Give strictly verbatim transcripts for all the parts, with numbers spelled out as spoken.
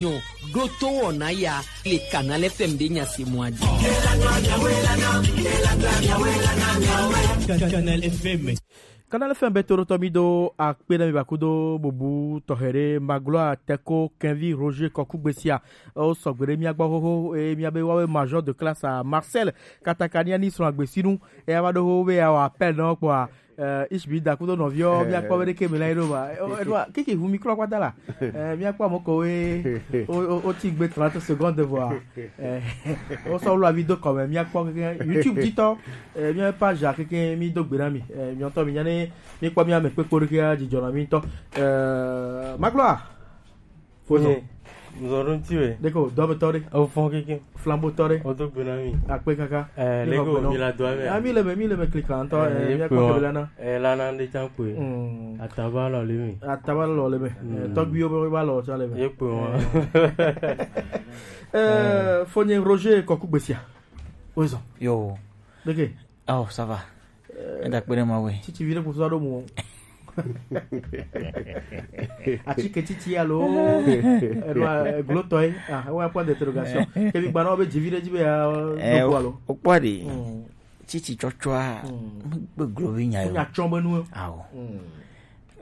Nyo, ɖo to wɔna ya le Canal F M ɖe nya se mɔ adi. Canal F M. Canal F M be toɖotɔ mi do akpe na mi bakudo bubu tɔxɛ ɖe Magloire Teko Kenvi Roger Kɔkugbesia. O sɔgbe ɖe mia gbɔ xoxo, e mia be wawe major de classe à Marseille. Katakania ni srɔ̃ agbesinu. E ava ɖo xoxo be ya wɔ appel nɔ kpɔa. Eh, Ishbi da kudo nɔviɔ, eh, mia kpɔ be ɖeke me la yi ɖo ba. Eh, eh, eh, kiki ʋu mi klɔ kpata la. Eh, mia kpɔ ame kowe, o, o, o ti gbe trente secondes vɔa. Eh, o sɔ wlo avi do kɔme, mia kpɔ keke YouTube dzi tɔ. Eh, mia page a keke mi do gbe na mi. Eh, mi ŋutɔ mi nya ne mi kpɔ mia me kpekpo ɖeke a dzidzɔ na mi ŋutɔ. Eh, Magloire. Fozɔn. Ye, nzɔn ɖo ŋuti wɛ. Ɖeko, dɔmetɔ ɖe. Efɔn keke. Flambotɔ ɖe. Wodo gbe na mi. Akpe kaka. Eh, mi xɔ leko gbe nɔ. Mi la do ame. Ah, mi le me, mi le me klikla ŋutɔ, eh, eh, mi akpɔ kebe lana. Eh, lana ɖe tsan kpe. Mm. Ataba lɔ le me. Ataba lɔ le me. Mm. Eh, tɔgbuiwo be ba lɔ tsa le me. Ye kpe wa. Eh, Fonye Roger Kɔkugbesia. Woezɔn. Yo. Ɖeke. Oh, ça va. Eh, eda kpe ɖe ma we. Titi vi ɖe kpo sɔ ɖo mu. Atike titi alo, eno, eh, glotɔe. Ah, ouais, point d'interrogation. Ke mi gba na be dzivi ɖe dzi be ya, eh, do alo. O kpɔ ɖi. Mm. Titi tsɔtsɔa, mm, me gbe glo vi nya yo. Nya tsɔ be nu. Awo. Mm.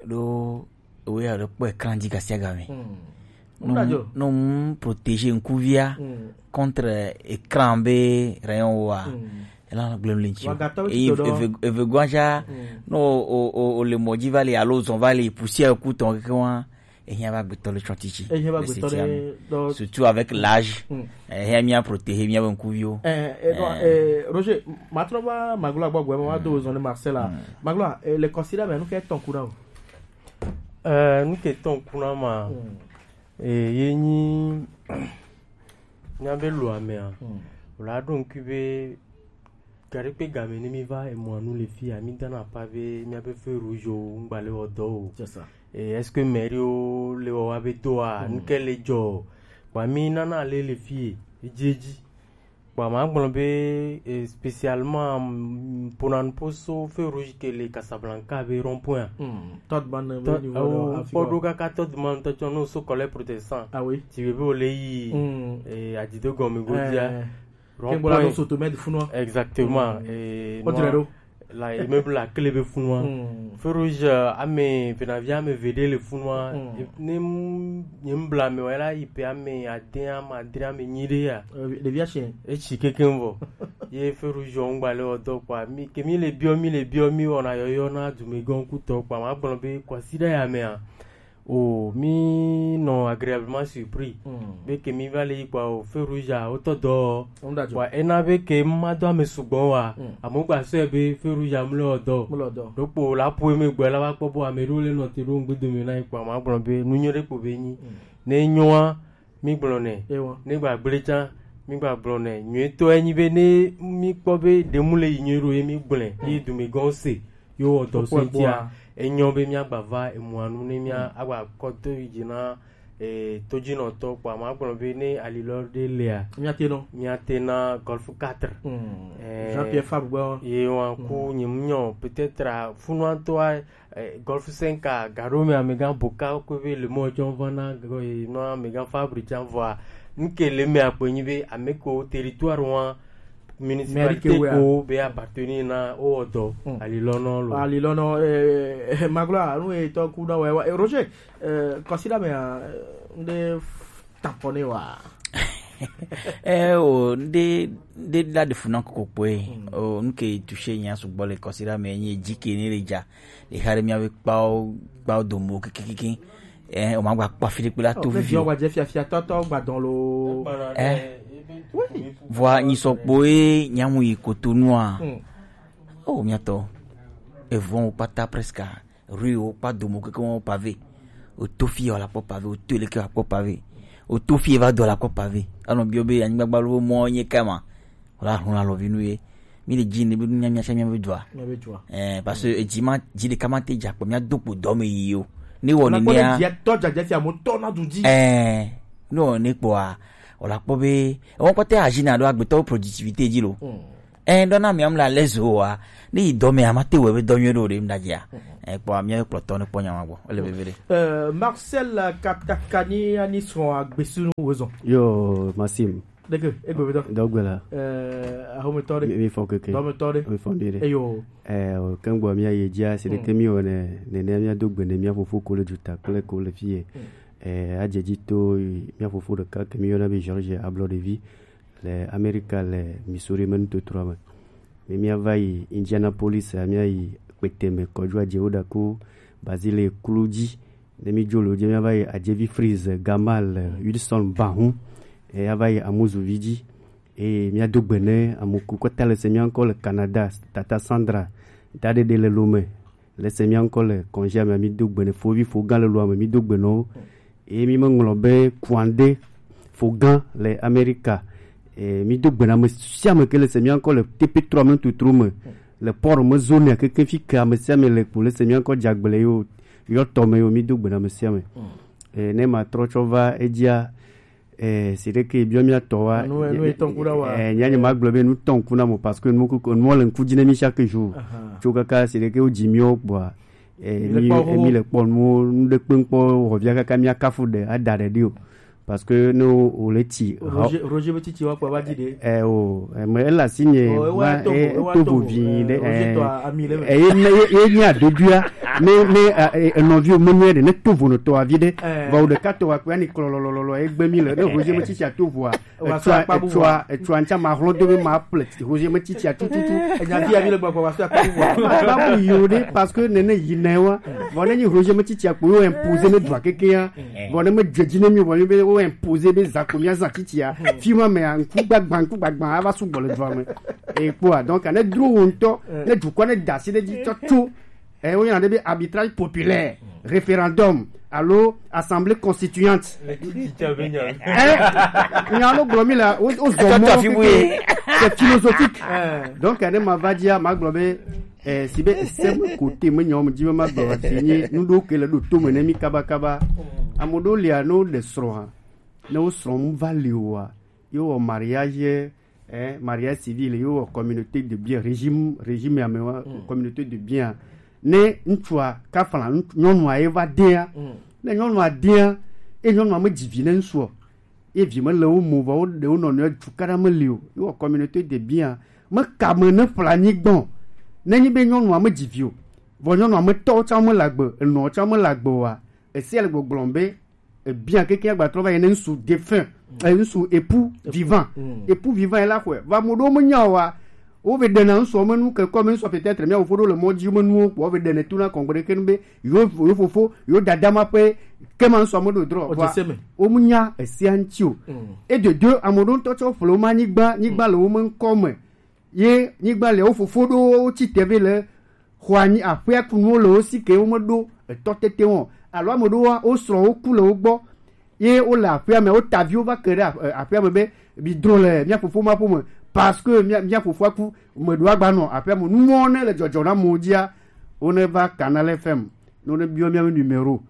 Ɖo, ewe ya ɖo kpɔ écran dzi gasiagame. Mm. No, no, protéger ŋkuvia, mm, contre écran be rayon wa. Mm. Ela gblem le ŋuti. Wagatɔ be eye tito ɖewo. Eve, eve guaja, mm, no, o, o, o le mɔ dzi va le alo zɔn va le poussière ku tɔn keke wa. Ehiã va gbetɔ le tsɔtiti. Ehiã va gbetɔ le tsɔtiti. Surtout avec l'âge. Mm. Ehiã mia protéger mia be ŋkuviwo. Eh, eh, non, eh, Roger, matrɔ va Magloire gbɔ gbɔ, ma do zɔn ne Marseille la. Mm. Magloire, eh, le considère mais nous qu'est ton coup là. Eh, nu ke tɔn kuna ma, mm, eh, ye nyi mía be lo amea. Mm. Wòle aɖo ŋkui be gaɖekpe game ne mí va emɔa nu le fia, mí dana apa be mía be feu rouge o, ŋgba le wɔ dɔ o. C'est ça. Eh, est-ce que mairie wo le wɔ wa be dɔa, mm, nu ke le dzɔ o? Kpa mí nana le le fie, edzi edzi. Kpa ma gblɔ be, eh, spécialement, mm, ƒona nuƒo so feu rouge ke le Casablanca be rond-point a. Hmm, Todman be niveau ɖo afi kpɔ ɖo kaka Todman tɔ tsɔ no so collège protestant. Ah oui. Ti be be o le yi, hmm, eh, adido gɔme godia. Eh, rond-point. Ke gblɔ la no so to med funua. Exactement. Hmm. Eh, o dire ɖo. La, immeuble la clé be funua. Hmm. Feu rouge, euh, ame, venavi ame ve ɖe le funua. Hmm. E, ne m-, nye m bla me wa la yi pe ame ade, ame adre, ame nyi ɖe ya. Euh, ɖevi asi. Etsi kekeŋ vɔ. Ye feu rouge ŋgba le wɔ dɔ kpa. Mi, ke mi le biɔ, mi le biɔ, mi wɔna yɔyɔ na dumegɔn kutɔ kpa. Ma gblɔ be kwasi ɖe ya mea. O, mí nɔ agréablement surpris. Mm. Be ke mí va le yi kpɔ o, feu rouge a, wotɔ dɔ. Kpɔ ena be ke ma dɔ ame sugbɔ wa. Mm. Amewo gba sɔe be feu rouge a mle o dɔ. Mle o dɔ. Ɖokpo la ƒo eme gbɔ la va kpɔ bo ame ɖewo le nɔte ɖo ŋgbe dome na yi kpɔ, ma gblɔ be nu nyui ɖe kpo be nyi. Mm. Ne nyoa, mí gblɔ nɛ. Ewa. Ne gba gble tsã, mí gba gblɔ nɛ. Nyuitɔ enyi be ne mí kpɔ be ɖemu le yi nyui ɖo ye mí gblɔe, ye dumegɔn se. Yo wɔ dɔ so ŋutia, enyɔ be míagba va emɔa nu ne mía agba kɔ do yi dzi na, eh, todzinɔtɔ kpɔ. Ma gblɔ be ne alilɔ ɖe lea, míate nɔ. Míate na Golf quatre. Mm. Eh, Jean-Pierre Fabre gbɔ. Ye wa ku, mm, nye mu nyɔ, peut-être, ah, funua ŋutɔa, eh, Golf cinq a, gaɖo me amegã Boka ko be le mɔ tsɔ va na, eh, nɔ amegã Fabre tsã vɔa. Nu ke le me akpe nyi be ame ko territoire wa, municipalité ko be appartenir na o dɔ. Hmm. Alilɔnɔ lo. Alilɔnɔ, eh, eh, Magloire, nu etɔ ku na wɛ, wɛ, eh, Roger, eh, kɔsiɖa mea, eh, ŋɖe f-, tapɔne wa. Eh, o, ŋɖe, ŋɖe la de funa koko kpoe. Hmm. O, nu ke touché nya sugbɔ le kɔsiɖa me, nye dzi ke ne le dza. Le xa ɖe mía be kpawo, kpawo domo kikikiki. Eh, o ma gba kpɔ afi ɖe kpe la to vivi o. Viɔ gba dze fiafia tɔtɔ gba dɔn lo. Eh. Oui. Vɔa nyi sɔkpo ye nyamu yi Cotonou a. Hmm. Oh, mía tɔ. Evɔn wo kpata presque. Rue wo kpa domo keke wo pavé. O to fi o la kpɔ pavé, o to leke o la kpɔ pavé. O to fi va do la kpɔ pavé. Anɔ biɔ be anyigba gbalo mɔ nye kama. Wala hun alɔvi nu ye. Mi le dzi ne be nu nya mía sia mía be dua. Mía be dua. Eh, parce que edzi ma, dzi ɖeka ma te dza kpɔ mía do kpo dɔ me yi o. Ne wɔ nenea. Tɔ dzadze fia mo tɔ na du dzi. Eh, ne wɔ ne kpɔa, wala kpɔ be, ewɔ kpɔtɛ azi na ɖo agbetɔwo productivité dzi lo. Hmm. Ɛ, ɖɔ na mia mla lɛ zo wa. Ne yi dɔ me ama te wɔ be dɔ nyuie ɖo ɖe mla dzia. Ɛ, kpɔ amia kplɔ tɔ ne kpɔ nya ma gbɔ. Ele bebe ɖe. Euh, Marcel Katakani ani srɔ̃ agbesinu wozɔ. Yo, Maxime. Deke, egbe be dɔ. Dɔgbe la. Euh, ahometɔ ɖe. Mi, mi fɔ keke. Dɔmetɔ ɖe. Mi fɔ ɖe. Eyo. Ɛ, o kengbo mi aye dzia, si ɖeke mi wɔ ne, ne, ne mi ado gbe ne mia fofo ko le dzuta kple ko le fie. Ɛ, adze dzi to mia fofo ɖeka ke mi yɔna be George Ablɔɖevi le Amerika le Missouri me nutotroa me. Ne mia va yi Indianapolis, mia yi kpete me kɔdzoa dze wo ɖa ko Basile klu dzi. Ne mi dzo le wo dzi, mia va yi Adjevi Freeze, Gamal, Wilson Bahun, e ya va yi Amuzuvi dzi. Eye mia do gbe ne ame ku kɔta le se mia ŋkɔ le Canada, Tata Sandra, Daɖeɖe le Lome, le se mia ŋkɔ le kɔnzia me, mi do gbe ne fovi fo gã le loa me, mi do gbe nɔ wo. Eye mi me ŋlɔ be Kuande fo gã le Amerika. E, mi do gbe na ame sia ame ke le se mia ŋkɔ le T P trois me tutru me, le port me zone keke fi ke ame sia ame le kpo le se mia ŋkɔ dzagble yo, yɔ tɔ me yo, mi do gbe na ame sia ame. E, ne ma trɔ tsɔ va edzia, e, si ɖeke biɔ mia tɔ wa. Enu, enu etɔn ku ɖa wa. E, nya nye ma gblɔ be nu tɔn ku na mo parce que nu ku, nu le ŋku dzi ne mi chaque jour. Aha. Tso kaka si ɖeke wo dzi mi wo gbɔa. E, mi le kpɔ, mi le kpɔ nu, nu ɖe kpe ŋkpɔ, hɔvia kaka mia kafu ɖe, ada ɖe ɖi o. Parce que ne wo, wo le tsi, Roger, Roger be titi wa kpa va dzi ɖe. E, o, e, me, ele asi nye, e, wa, e, to vo, e, e, wa to to vo, vo vi e, ɖe, Roger e, tɔ ami le me. E, ye, ne, ye, ye nya doduia, ne, ne, e, e, enɔvi wo me nyuie ɖe, ne to vo no tɔ avi ɖe, e, va wo ɖeka tɔ wa kpe ani klɔ lɔ, lɔ, lɔ, lɔ, egbe mi le, ne Roger me titi a to voa, wa so etsɔa, akpa bubu etsɔa, etsɔa ŋtsa ma hlɔ do be ma ple, Roger me titi a tututu. Enya fi avi le gbɔgbɔ, wa so akpa bubu. Ma, ma bu yi o ɖe, parce que nene yi ne wa, vɔ ne nyi Roger me titi a kpo yo imposer me dua keke ya. Vɔ ne me dze dzi ne mi, vɔ mi be wo imposer be za ko mia za titi a. Fi ma me a, ŋku gbagba, ŋku gbagba, ava su gbɔ le dua me. E kpɔa, donc, ne dro wo ŋutɔ, ne dukɔ ne da asi ɖe dzi tsɔ tso, e, wo yɔna ɖe be arbitrage populaire, référendum, alo assemblée constituante. Le titi a be nya. E, nya no gblɔ mi la, wo, wo zɔ mɔ keke, c'est philosophique. Donc, ne ma va dzia, ma gblɔ be, e, si be, e, se me kote me nyawo me dzi be ma gblɔ, si nye, nu ɖewo ke le ɖo to me ne mi kaba kaba. Ame ɖewo lia, ne wo ɖe srɔ̃ ha, ne wo srɔ̃ mu va li oa, ye wɔ mariage, eh, mariage civil, ye wɔ communauté de bien, régime, régime ya me wa, communauté de bien. Ne ŋutsua kafla, ŋutsu, nyɔnua ye va dea, ne nyɔnua dea, e nyɔnua me dzi vi ne ŋutsua, ye vi me le wo mo, vɔ wo ɖe wo nɔnɔe dzu kaɖa me li o, ye wɔ communauté de bien. Me ka me ne ƒla nyigbɔn, ne nyi be nyɔnua me dzi vi o, vɔ nyɔnua me tɔwo tsã me le agbe, enɔwo tsã me le agbe oa, esia le gbɔgblɔm be, ebia keke agbatrɔ va yi ne ŋsu défunt, eh, ŋsu époux vivant. Époux vivant ye la xɔe. Va mo ɖewo menya o wa. Wo ve ɖena ŋsua me nu ke kɔ me ŋsua peut-être mia fofo ɖo le mɔ dzi me nuwo kpɔ, wo ve ɖene tu na kɔngbe ɖeke nu be yo, yo fofo, yo dada ma ƒe ke ma ŋsua me ɖo drɔ. Vɔa, wo menya esia ŋti o. Et de deux, ame ɖewo ŋutɔ tsɔ ƒle wo ma nyigba, nyigba le wo me ŋkɔ me. Ye nyigba le wo fofo ɖo wo tsi te ve le xɔ anyi aƒea ku nuwo le wo si ke wo me ɖo etɔ tete wɔn. Alo ame ɖewoa, wo srɔ̃wo ku le wo gbɔ. Ye wo le aƒea me, wo ta viwo va ke ɖe aƒ-, aƒea me be, bi drɔ̃ le mia fofo ma ƒome. Parce que mia, mia fofoa ku, me ɖo agba nɔ aƒea me. Nuwo ne le dzɔdzɔ na mo dzia, wo ne va Canal F M, no ne biɔ mia me numéro.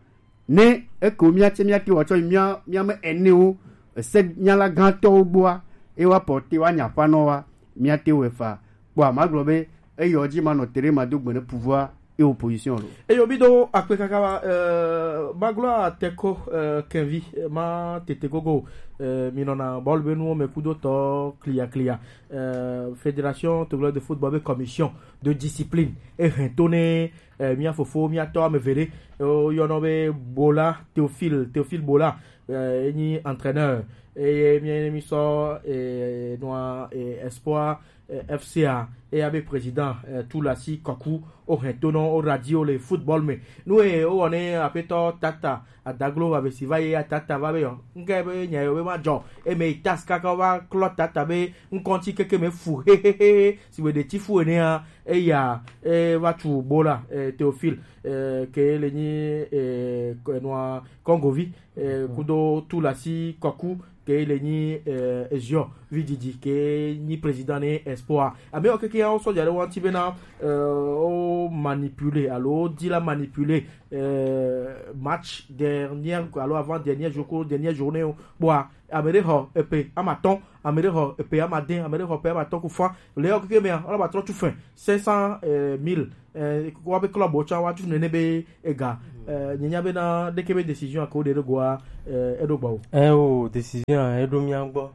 Ne eke wo mía tse mía te wɔ tsɔ mía, mía me enewo, ese nyala gãtɔwo gbɔa, e wa porte wa nya ƒanɔ wa, mía te wɔ fa. Kpɔ ma gblɔ be, eyɔ dzi ma nɔ tere ma do gbe ne pouvoir et opposition lo. Eyo, mi do akpe kaka wa, euh, ma gblɔ ateko, euh, kenvi, euh, ma tete gogo, euh, mi nɔna bɔl be nuwo me kudo tɔ klia klia, euh, Fédération Togolaise de Football be commission de discipline, e hɛn to ne eh, mía fofo, mía tɔ ame eve ɖe, eh, woyɔnɔ be Bola, Théophile, Théophile Bola, eh, enyi entraîneur, eye mía, mí sɔ, eh, nua, eh, Espoir, eh, F C a, eya be président, eh, Tulasi Kɔku, wo hɛn to nɔ wo radio le football me. Nu e wo wɔ ne aƒetɔ Tata Adaglo va be si va ye ya Tata va be yɔ. Ŋke be nya yɔ be ma dzɔ. E me yi tas kaka va klɔ Tata be ŋkɔnti keke me fu hehehe. Si be ɖe ti fu enea, eya, e, va tu Bola, e, Théophile, e, ke le nyi, e, ke nua Congovi, e, kudo Tulasi Kɔku, ke le nyi, e, Ezio Vididi, ke nyi président ne Espoir. Ame wo keke ya wo sɔja ɖe wo ŋuti bena, e, wo manipuler, alo wo di la manipuler, euh, match dernière, alo avant dernière jour, ko dernière journée o. Kpoa ame ɖe xɔ epe ama atɔ̃, ame ɖe xɔ epe ama ade, ame ɖe xɔ epe ama atɔ̃ ku fã. Le yɔ keke mea, wala ba trɔ tu fin cinq cent mille. Eh, wa be club wo tsã wa tu nene be ega. Eh, nye nya be na ɖeke be décision ko ɖe ɖo goa, eh, eɖo gba o. Eh, o, décision a, eɖo mía gbɔ.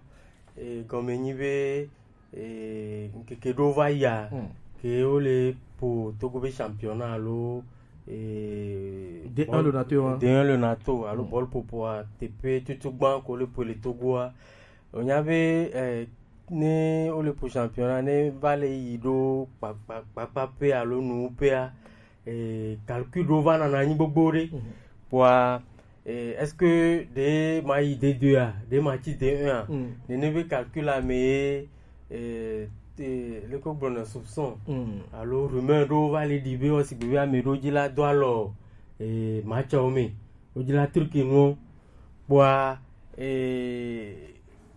Eh, gɔme nyi be, eh, ŋkeke ɖo va yia, Hmm. ke wo le po Togo be championnat alo, eh, D un bɔl-, le nato, hein. D un le nato, alo Hmm. bɔl popo a, teƒe tutu gbã ko le po le Togo a. Wonya be, eh, ne wo le po championnat, ne va le yi ɖo kpakpa, kpakpa pe alo nu pe a, eh, calcul ɖo va nana anyi gbogbo ɖe. Mhm. Kpoa, eh, est-ce que ɖe ma yi D deux a, ɖe ma tsi D un a? Mm. Nene be calcul a me ye, eh, te-, leke wo gblɔna, soupçon Mm. alo rumeur ɖo va le ɖi be wo sigbe be ame ɖo dzi la do alɔ, eh, match wo me. Wo dzi la truc nuwo. Kpoa, eh,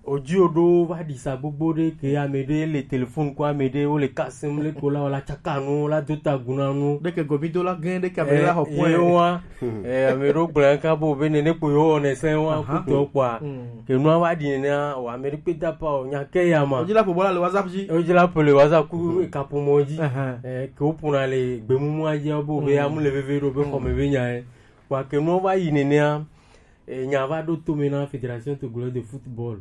o dzi o ɖo va ɖi sa gbogbo ɖe ke ame ɖe le téléphone ko ame ɖe wo le kasem le ko la wala tsaka nu la do ta gu na nu. Ɖeke gomi do la gẽ ɖeke ame ɖe la xɔ point. Ye wa, eh, ame ɖo gblɔ ka bo be nene ko yo ne se wa Aha. kutɔ kpoa. Mm. Ke nua va ɖi nene wa ame ɖe kpe da pa o nya ke ya ma. O dzi la po bɔla le WhatsApp dzi. O dzi la po le WhatsApp ku Mm. kapo mo dzi. Aha. Eh, ke wo pona le gbemumu a dzi bo be Mm. amu le veve ɖo be xɔ me be nya ye. Kpoa ke nua va yi nenea, eh, nya va ɖo to me na Fédération Togolaise de Football.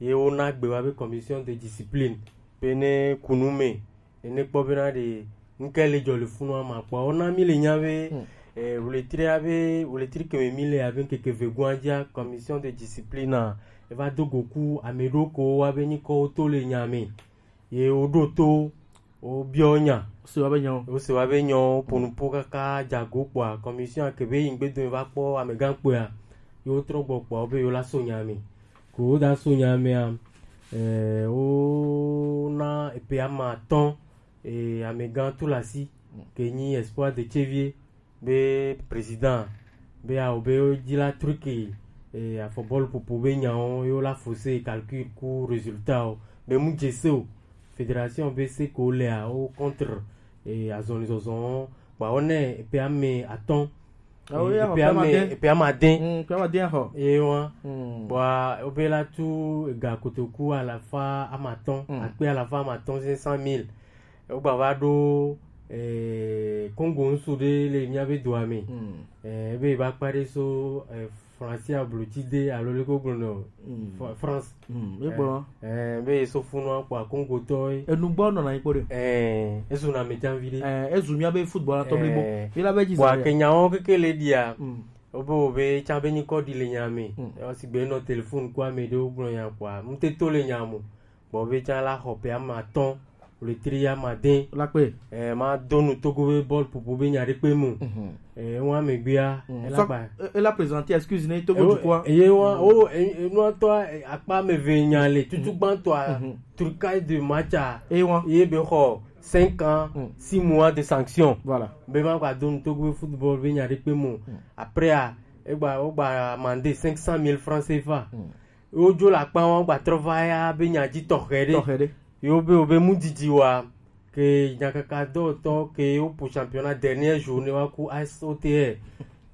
Ye wona gbe wa be commission de discipline. Be ne ku nu me, ne kpɔ be na ɖe ŋke le dzɔ le funu ama kpɔ. Wona mi le nya be, Hmm. eh, wletri a be, wletri ke me mi le a be ŋkeke ve gua dzia, commission de discipline a, e va do go ku ame ɖo ko wa be nyikɔ wo to le nya me. Ye wo ɖo to, wo biɔ nya. Wo se wa be nyawo. Wo se wa be nyawo, ponu po kaka dzago kpoa, commission a ke be yi ŋgbe do va kpɔ amegã kpoa, ye wo trɔ gbɔ kpoa, wo be yo la so nya me. Ko wo da so nya mea, eh, wo na epe ama atɔ̃, eh, amegã Tulasi, ke nyi Espoir de Tsevier, be président, be awo be wo dzi la truc, eh, afɔbɔlu popo be nyawo, yo la fose calcul ku résultat o, be mu dze se o, fédération be se ko lea, wo contre, eh, azɔlizɔzɔ, ba wo ne epe ame atɔ̃. Ah oui, eh, ah, epe ame, epe ame ade. Mm, epe ame ade ahɔ. Eh, wa. Mm. Ba wo be la tu ega kotoku alafa ama atɔ̃, Mm. akpe alafa ama atɔ̃ cinq cent mille. Wogba va ɖo, eh, Congo ŋsu ɖe le mía be dua me. Mm. Eh, ebe va kpa ɖe so, eh, Francis Ablotide alo leke wogblɔ nɔ, Mm. Fra-, France. Mm, e gblɔ. Eh, eh, be so funu akpɔ Congo tɔ ye. Enu gbɔ nɔna anyi kpɔ ɖe. Eh, ezu na me janvi ɖe. Eh, ezu mía be football atɔ blibo. Eh, mi la be dzi kpɔ zan ke ya. Nyawo keke le ɖia. Mm. Wobe wobe tsa be nyikɔ ɖi le nya me. Mm. Esi gbe nɔ téléphone ko ame ɖewo gblɔ nya kpɔa, ŋutete le nya mo. Gbɔ be tsã la xɔ ƒe ame atɔ̃, wletri ame ade. La kpe. Eh, ma do nu Togo be bɔl ƒoƒo be nya ɖe kpe mu. Mhm. Eh, wa megbea, Mm. ela Sɔ-, gba. E-, ela présenter excuse ne Togo Eh, dukɔa. Eye wa, Mm. o, e-, e-, nua tɔ, eh, akpa ame eve nya le, tutu Mhm. gbãtɔa, Mhm. trucage de match a, Eye wa. ye be xɔ cinq ans, Mm. six mois de sanction. Voilà. Be ma gba do nu Togo be football be nya ɖe kpe mu. Mm. Après a, egba, wogba amende cinq cent mille francs C F A. Mm. Wodzo le akpa ŋu gba trɔ va ya be nya dzi tɔxɛ ɖe. Tɔxɛ ɖe. Yo be, wo be mu didi wa ke nyakaka dɔwɔtɔ ke wo po championnat dernière journée wa ku A S O T R.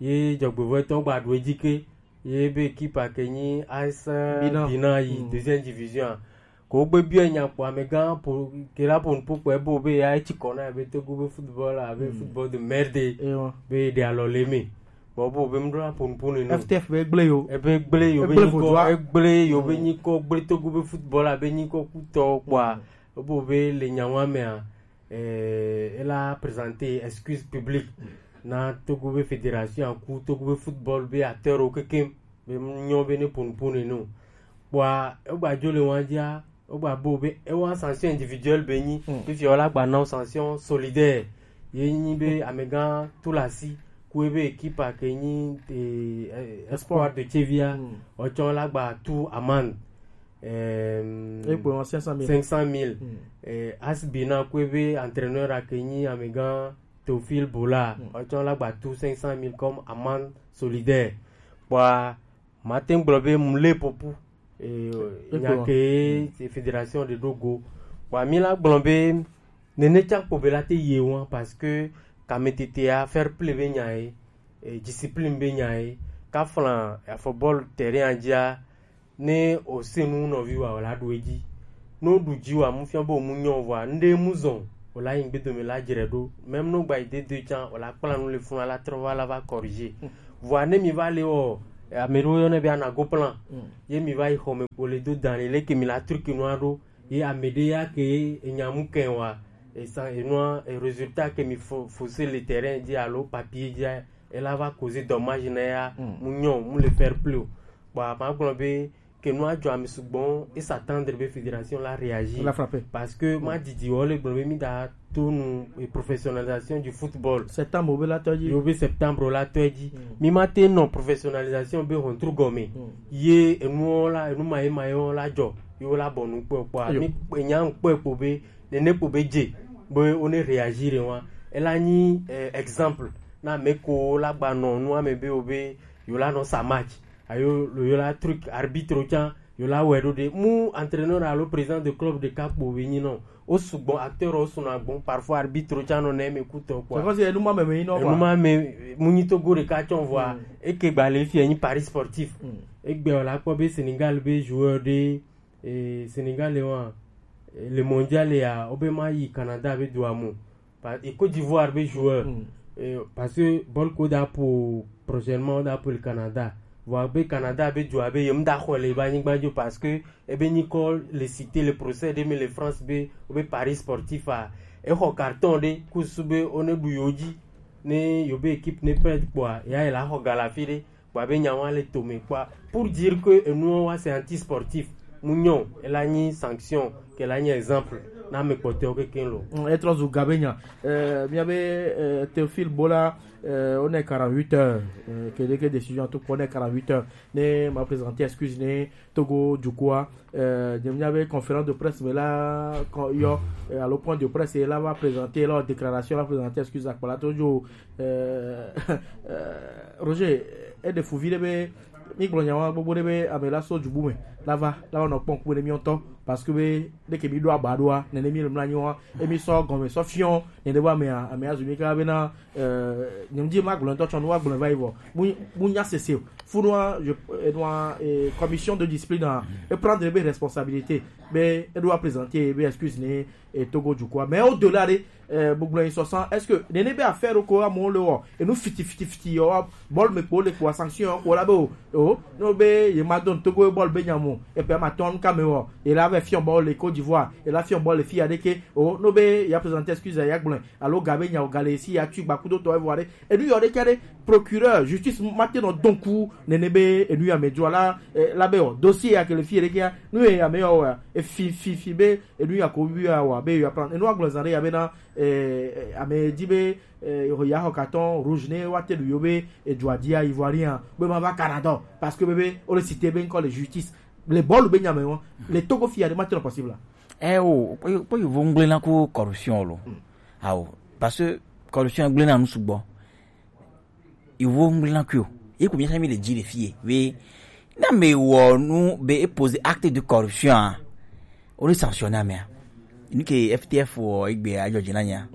Ye dzɔgbevɔtɔ gba ɖo edzi ke. Ye be équipe a ke nyi A S Binan. Binan yi Mm. deuxième division a. Ko gbe biɔ nya kpɔ amegã po ke la po nupo kpɔ ebo be ya etsi kɔ na be Togo be football a be Mm. football de merde. Ewa. Be ɖe alɔ le me. Bɔ bo be mɖo la po nupo ne no. F T F be gble yo. Ebe gble yo be Egble nyikɔ, vodua. Egble yo be Mm. nyikɔ, gble Togo be football a be nyikɔ kutɔ kpɔa. Mm. Bo be le nya wa mea, eh, ela présenter excuse publique Mm. na Togo be fédération a ku Togo be football be acteur o kekem be nyɔ be ne po nupo ne no. Kpɔa, egba dzo le wa dzia, wogba bo be ewa sanction individuelle be nyi. Mm. Fifi wala gba na sanction solidaire. Ye nyi be amegã Tulasi ku ebe équipe a ke nyi, eh, eh, Espoir. Espoir de Chevia. Mm. Otsɔ la gba tu amende. Ehm, Ekpo cinq cent mille. Cinq cent mille. Mm. Eh, A S Binan ku ebe entraîneur a ke nyi amegã Théophile Bola. Mm. Otsɔ la gba tu cinq cent mille comme amende solidaire. Kpɔa, mate ŋu gblɔ be mu le popu. Eh, Ekpo. Nya ke fédération de ɖo go. Wa mi la gblɔ be nene tsa kpo be la te ye wa parce que kametete a fair play be nya ye. eh, discipline be nya ye. Ka flan afɔ bɔl terrain a dzia, ne o se nu nɔvi wa o la ɖu edzi. Ne o ɖu dzi wa mu fiɔ be o mu nyɔ vɔa, ŋɖe mu zɔn o la yi ŋgbedome la dzre ɖo. Même ne o gba yi de do can o la kpla nu le funu la trɔ va la va corriger. Vɔa ne mi va le wɔ, ame ɖewo yɔnɛ be anago plan. Ye mi va yi xɔme o le do dan le leke mi la truc nua ɖo. Ye ame ɖe ya ke enya mu kɛn wa, esan enua, e résultat ke mi fo, fo se le terrain dzi alo papier dzi, e la va causer dommage na ya, mu nyɔ, mu le fair play o. Bon, ma gblɔ be ke nua dzɔ ame sugbɔ, e s'attendre be fédération la réagir. La frappe. Parce que ma didi wɔ le gblɔ be mi da to nu e professionnalisation du football. Septembre be la tɔ dzi. Yo be septembre la tɔ dzi. Mi ma te nɔ professionnalisation be hɔntru gɔme. Ye enuwo la, enu ma ye ma ye wo la dzɔ, ye wo la bɔ nu kpɔ kpɔa. Mi enya kpɔ kpɔ be nene kpɔ be dze be wo ne réagir wa. E la nyi, eh, exemple na me ko la gba nɔ nu ame be wo be yo la nɔ sa match. Ayo lo yo la truc arbitre can yo la wɛ ɖo ɖe. Mu entraîneur alo président de club ɖeka kpo be nyi nɔ. Wo sugbɔ, acteur wo sunɔ agbɔn, parfois arbitre can nɔ ne me kutɔ quoi. Parce que enu ma me me nɔ quoi. Enu ma me mu nyi Togo ɖeka tsɔn vɔa. Eke gba le fia nyi Paris Sportif. Egbe o la kpɔ be Sénégal be joueur ɖe, eh, Sénégal le wa, eh, le mondial ya, o be ma yi Canada be do amo. Pa-, et Côte d'Ivoire be joueur. Eh, parce que bɔl ko da po prochainement o da po le Canada. Vɔa be Canada be do abe yem da xɔ le ba nyigba jo parce que ebe nyi kɔ le cité le procès de me le France be o be Paris Sportif a. E xɔ carton de kusu be o ne du yo dzi. Ne yo be équipe ne perd kpɔa, ya e la xɔ galafi de. Kpɔa be nya wa le tome kpɔa. Pour dire que enuwo wa c'est anti-sportif. Mu nyɔ, e la nyi sanction, ke la nyi exemple na me kpɔtɔewo keke lo. Mm, e trɔ zu ga be nya. Euh, mia be, euh, Théophile Bola, euh, on est quarante-huit heures. Euh, que dès que décision tout on est quarante-huit heures. Ne ma présenter excuse ne Togo du quoi. Euh, je viens avec conférence de presse, mais là, quand il y a, euh, à le point de presse, et là, va présenter, la déclaration, va présenter, excuse à Kpalato Joe. Euh, euh, Roger, et de Fouville, mais mi gblɔ nya wa gbogbo ɖe be ame la sɔ dzubu me la va la va nɔ kpɔn ku ne mi ŋutɔ parce que be ɖe ke mi ɖo aba ɖoa nene mi le mla nyi wa emi sɔ gɔme sɔ fiɔ nene be amea amea zu mi ka be na, euh, nyem di ma gblɔ ŋutɔ tsɔ nu wa gblɔ va yi vɔ mu mu nya sese o. Funu wa je enua, eh, commission de discipline a e prendre be responsabilité be e ɖo wa présenter be excuse ne e Togo du quoi. Mais au-delà de, euh, gbogbo yin sɔsan, est-ce que nene be affaire ko amewo le wɔ enu fiti fiti fiti yɔ wa bɔl me kpo le kpo sanction ko la be o o no be ye ma don Togo bɔl be nyamo e pe ma ton ka me wɔ e la be fion bɔl le Côte d'Ivoire e la fion bɔl le fi ya de ke o no be ya présenter excuse ya gblɔ alo ga be nya o ga le si ya tu gba kudo to e voir enu yɔ de ke de procureur justice ma te no donc nene be enu ya me du la, eh, la be o dossier ya ke le fi de ke ya nu ya me o e fi fi fi be enu ya ko wi ya wa be ya plan enu agblɔ zan ɖe ya be na, eh, ame di be, eh, ya xɔ carton rouge ne wa te ɖu yo be edua dia Ivoirien be ma va Canada parce que be be o le cité be ŋkɔ le justice le bɔlu be nya me wɔn le Togo fi ya ɖe ma te nɔ possible la. Eh o kpɔ yovo ŋgble na ko corruption lo. Awo parce que corruption gble na nu sugbɔ. Yewo ŋgblẽna kui o. Ye ko míatsã míle dzi le fie. Be, ne ame wɔ nu be e poser acte de corruption a, o le sanctionner amea. Nu ke F T F wɔ egbe adzɔ dzi na nya.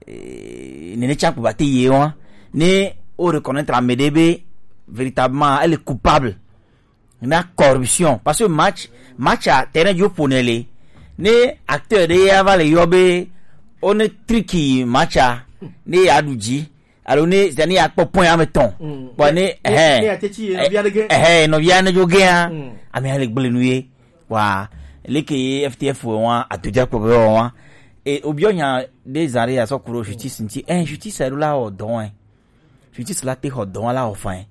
Eh, nene tsã kpo ba te ye wa. Ne o reconnaître ame ɖe be véritablement elle est coupable na corruption. Parce que match, match a terrain dzi ƒo ne le. Ne acteur ɖe ya va le yɔ be o ne tricky match a, ne ya ɖu dzi. Alo ne zani ya kpɔ point ame tɔn. Kpɔ ne ne ya teti ye nɔvia ɖe ge. Ehe nɔvia ne dzo ge ya. Ame ya le gble nu ye. Wa leke ye F T F wɔ wa atuja kpɔ be wɔ wa. E obiɔ nya ɖe zã ɖe ya sɔ ku ɖo justice ŋti. Eh, justice ɖo la wɔ dɔ wɛ. Justice la te xɔ dɔ wa la wɔ fain.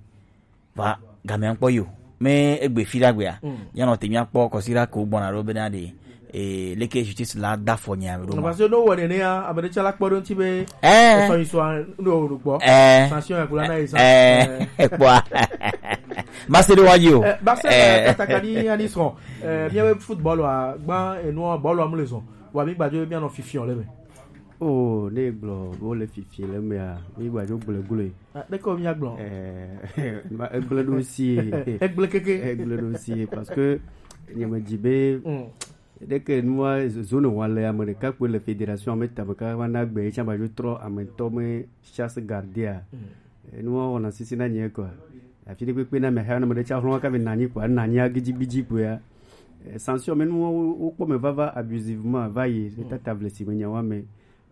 Va gamea kpɔ yo. Me egbe fi ɖa gbea. Ya nɔ te mia kpɔ kɔsi ɖa ko gbɔna ɖo be na ɖe. Eh, leke justice la da fɔ nya ɖo ma. Parce que no wɔ nene ya ame ɖe tsɛ la kpɔ ɖo ŋti be eh, esɔ yi sɔ no ɖo kpɔ eh, sanction ya kula na yi sa eh, kpɔ. Base ɖe wa yi o. Eh, base eh, katakani ani sɔ. Eh, mia be football wa gba enu bɔl wa mu le zɔn. Wa mi gbajo mia nɔ fifiɔ le me. Oh, ne gblɔ wo le fifiɔ le mea, mi gbajo gble gble. Ah, ɖeke wo mia gblɔ. Eh, ma egble ɖo si. Egble keke. Egble ɖo si parce que nyemedzi be ɖeke nua zone wa le ame ɖeka kpoe le fédération me tame ka va na gbe etsã va dzo trɔ ame ŋutɔ me chasse gardée a. Enu wɔwɔ na sisi na nyɛ kɔa. Afi ɖe kpekpe na mɛ hɛ na mɛ ɖe tsa hlɔn ka be nanyi kɔa, nanyi agidigbidi kɔa. Eh, sanction mɛ nu wo kpɔ mɛ vava abusivement va yi le tata vle si me nya wa mɛ.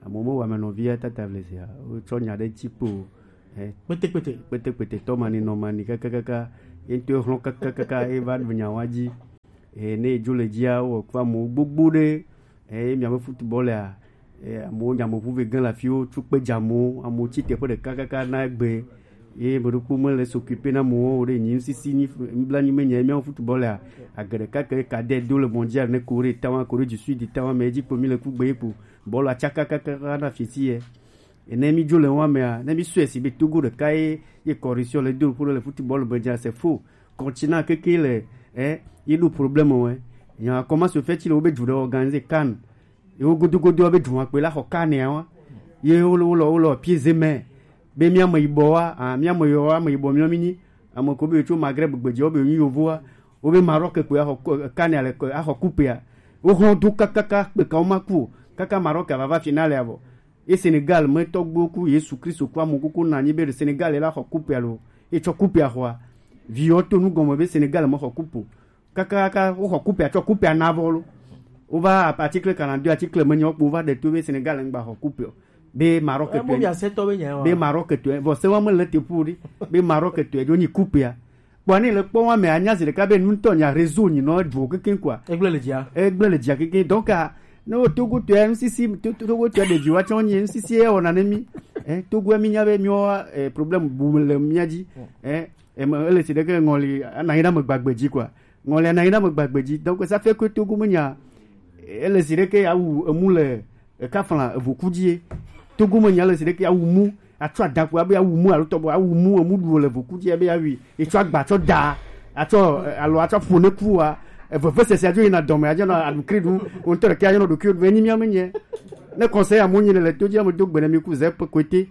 Amo me wa mɛ nɔvia tata vle si a. Wo tsɔ nya ɖe tsi kpo. Eh, kpete kpete. Kpete kpete tɔ mani nɔ mani kaka kaka. Ye ŋutɔ hlɔn kaka kaka ye va ɖu nya wa dzi. Eh, ne edzo le dzia, wɔ kɔ amewo gbogbo ɖe. Eh, ye miabe football a, eh, amewo nya amewo ƒuve gã le afiwo, tso kpe dze amewo, amewo tsi teƒe ɖeka kaka na egbe. Ye ame ɖokpo mele s'occuper na amewo o ɖe. Nyi ŋsisi, nyi nublanui me nya ye miawo football a, age ɖeka ke cadet do le mondial ne Corée tawa, Corée du Sud tawa me edzi kpo mi le kugbe ye kpo. Bɔlu atsaka kaka na fiti ye. Ene mi dzo le wa mea, ne mi sɔe si be Togo ɖeka ye, ye corruption le do ƒo le football be dza, c'est faux. Continent keke le, eh, ye ɖo problème wɛ. Nya comment se fait-il wo be dzu ɖe organiser CAN. Ye wo godo godo be dzu akpe la xɔ CAN ya wa. Ye wo le, wo le, wo le pieds et mains. Be mi ame yibɔ wa, ah, mi ame yɔ wa, ame yibɔ mi mi nyi. Ame ko be tso Maghreb gbedzi wo be nyi yovo wa. Wo be Maroc kpe axɔ ko-, CAN ya le ko-, axɔ coupe ya. Wo hlɔn do kakaka kpe ka wo ma ku o. Kaka Maroc ava va finale ya vɔ. Ye Sénégal me tɔgbuiwo ku Yesu Kristo ku ame kuku na anyi be ɖe Sénégal la xɔ coupe alo ye tsɔ coupe axɔa. Viwo to nu gɔme be Sénégal me xɔ coupe o. Kakaka wo xɔ coupe atsɔ coupe ana vɔ lo. Wo va article quarante-deux article me nyawo kpo va ɖe to be Sénégal ŋgba xɔ coupe o. Be Maroc Eh, tɔe. Be Maroc tɔe. Vɔ se wa me le te pu ɖi. Be Maroc tɔe dzo nyi coupe a. Kpɔ ne le kpɔ wa me anya zi ɖeka be nu tɔ nya réseau nyi nɔ dro keke kɔa. Egblẽ le dzia. Egblẽ le dzia keke. Donc, ah, ne wo Togo tɔe, ŋsisi, To-, To-, Togo tɔe ɖevi wa tsɔ nyi, ŋsisi ye wɔna ne mi. Eh, Togo mi nya be mi wa, eh, problème bu le mia dzi. Eh, eh, me, ele si ɖeke ŋɔli, ana yi na me gbagbe dzi kɔa. Ŋɔli ana yi na me gbagbe dzi. Donc, ça fait que Togo me nya, ele si ɖeke ya wu emu le Eka fla evoku dzi ye. Togo me nya le si ɖeke awu mu. Atsɔ adakpo abe awu mu alo tɔbɔ awu mu emu ɖu le voku dzi abe awi. Etsɔ agba tsɔ da. Atsɔ, eh, alo atsɔ ƒo ne ku wa. Eveve sese adzo yina dɔme adzo na aɖukri ɖu. Wo ŋutɔ ɖeke adzo na ɖokuiwo ɖu. Enyi mía me nye. Ne conseil amewo nyi le to dzi ame do gbe ne mi ku ze pe kote.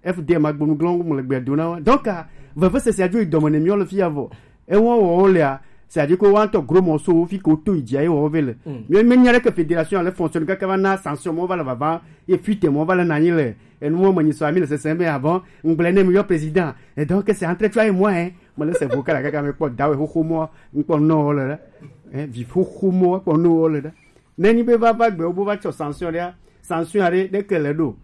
F D M agbonu glɔn mo le gbe do na wa. Donc, ah, veve sese adzo yi dɔme ne mi le fi ya vɔ. Ewɔ wɔ wo lea, c'est-à-dire que woantɔ gros morceau fi ko to idzi ayi wɔ ve le. Mm. Mi me nya ɖe ke fédération ale fonctionne kaka va na sanction mo va le vava, ye fuite mo va le nanyi le. Enu mo me nyi so ami le sese be avant, ngble ne mi yo président. Et donc, c'est entre toi et moi, hein. Mo le se vocal kaka me kpɔ dawe xoxo mo, nkpɔ no le. Hein, vi xoxo mo, kpɔ no le. Ne nyi be va va gbe wo bo va tsɔ sanction ɖea, sanction aɖe ɖe ke le ɖo.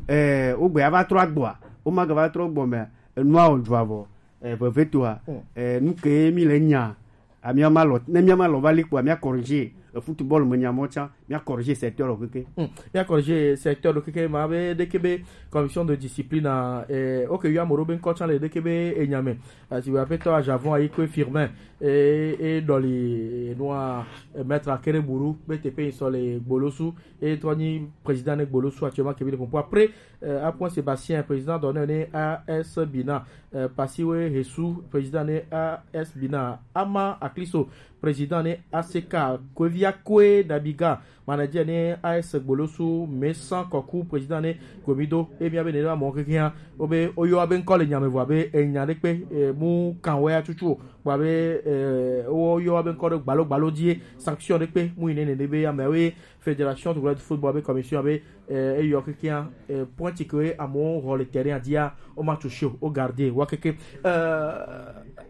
Eh, wo gbe ava trɔ agbɔa, wo ma gava trɔ gbɔ me, enua o dzua vɔ. Eh, vevetoa, eh, nu ke mi le nya. Amia ma lɔ, ne mia ma lɔ va li kpo, amia corriger. E football me nya mo tsa, mia corriger secteur lo keke. Hmm. Mia corriger secteur lo keke, ma be de ke be commission de discipline, eh, ok, yo amoro be nkɔ tsa le de ke be e nya me. Ah, si wa petɔ ajavon ayi kwe Firmin, eh, eh, dɔli, eh, noa, eh, maître Akere Buru, be te pe so le gbolosu, eh, trɔ nyi président ne gbolosu actuellement ke bi le pompo. Après, euh, Apouin Sébastien, président d'honneur de A S Bina, euh, Pasiwe Hesu, président de A S Bina, Ama Akliso, président de A C K, Kwevia Kwe Dabiga, manager de A S Gbolosu, Mesan Koku, président de Gomido, et bien, bien, mon rien, obe, oyo aben kole nyame voabe, e nyane pe, eh, mu kanwe a chuchu, voabe, eh, oyo aben kole gbalo, gbalo die, sanction de pe, mu inene de be, ya me we, fédération de football, be commission, be, eh, eyɔ kekeŋ, eh, point ke amewo xɔ le terrain dzia, wo ma tso shi o, wo garder wa keke. Eh,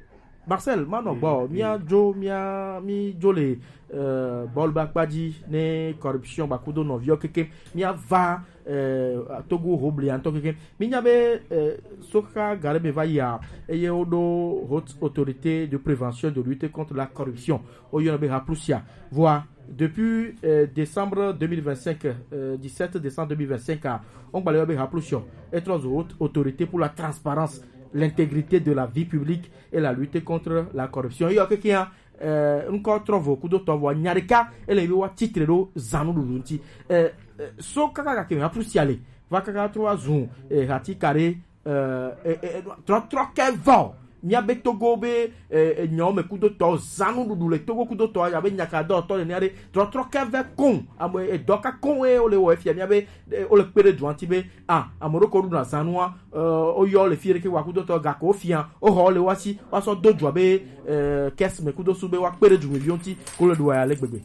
Marcel, manɔ gbɔ, mía dzo, mía, mí dzo le, eh, bɔlu be akpa dzi ne corruption ba kudo nɔviwo keke. Mía va, eh, Togo ho bli ŋutɔ keke. Mí nya be, eh, soka gare be va yia, eye wo ɖo Haute Autorité de Prévention de Lutte contre la Corruption. Wo yɔna be Haplusia. Voa, depuis, euh, décembre deux mille vingt-cinq, euh, dix-sept décembre deux mille vingt-cinq, ah, on gbalé be Haplusia, être aux hautes autorités pour la transparence, l'intégrité de la vie publique et la lutte contre la corruption. Yo, quelqu'un, euh, encore trop beaucoup de temps, voilà, nyareka, et les lois titre do zanu do lunti. Euh, euh, so kaka kaka Haplusia le, va kaka trois zun, et hati carré, euh, eh, eh, eh, trɔ, trɔ kɛ vɔ. Mía be Togo be, eh, eh, nyawo me kudotɔ, zã nuɖuɖu le Togo kudotɔ, abe nyakadɔtɔ nene aɖe. Trɔ, trɔ kɛ vɛ koŋ. Ame, eh, dɔ ka koŋ ye wole wɔ efia. Mía be, eh, wole kpe ɖe dua ŋuti be, ah, ame ɖewo ko ɖuna zã nua, eh, woyɔ le fi ɖeke wa kudotɔ, gako wofia, woxɔ le woa si, woasɔ do dua be, eh, kɛs me kudo su be woakpe ɖe dumeviwo ŋuti, ko le ɖua ya le gbegbe.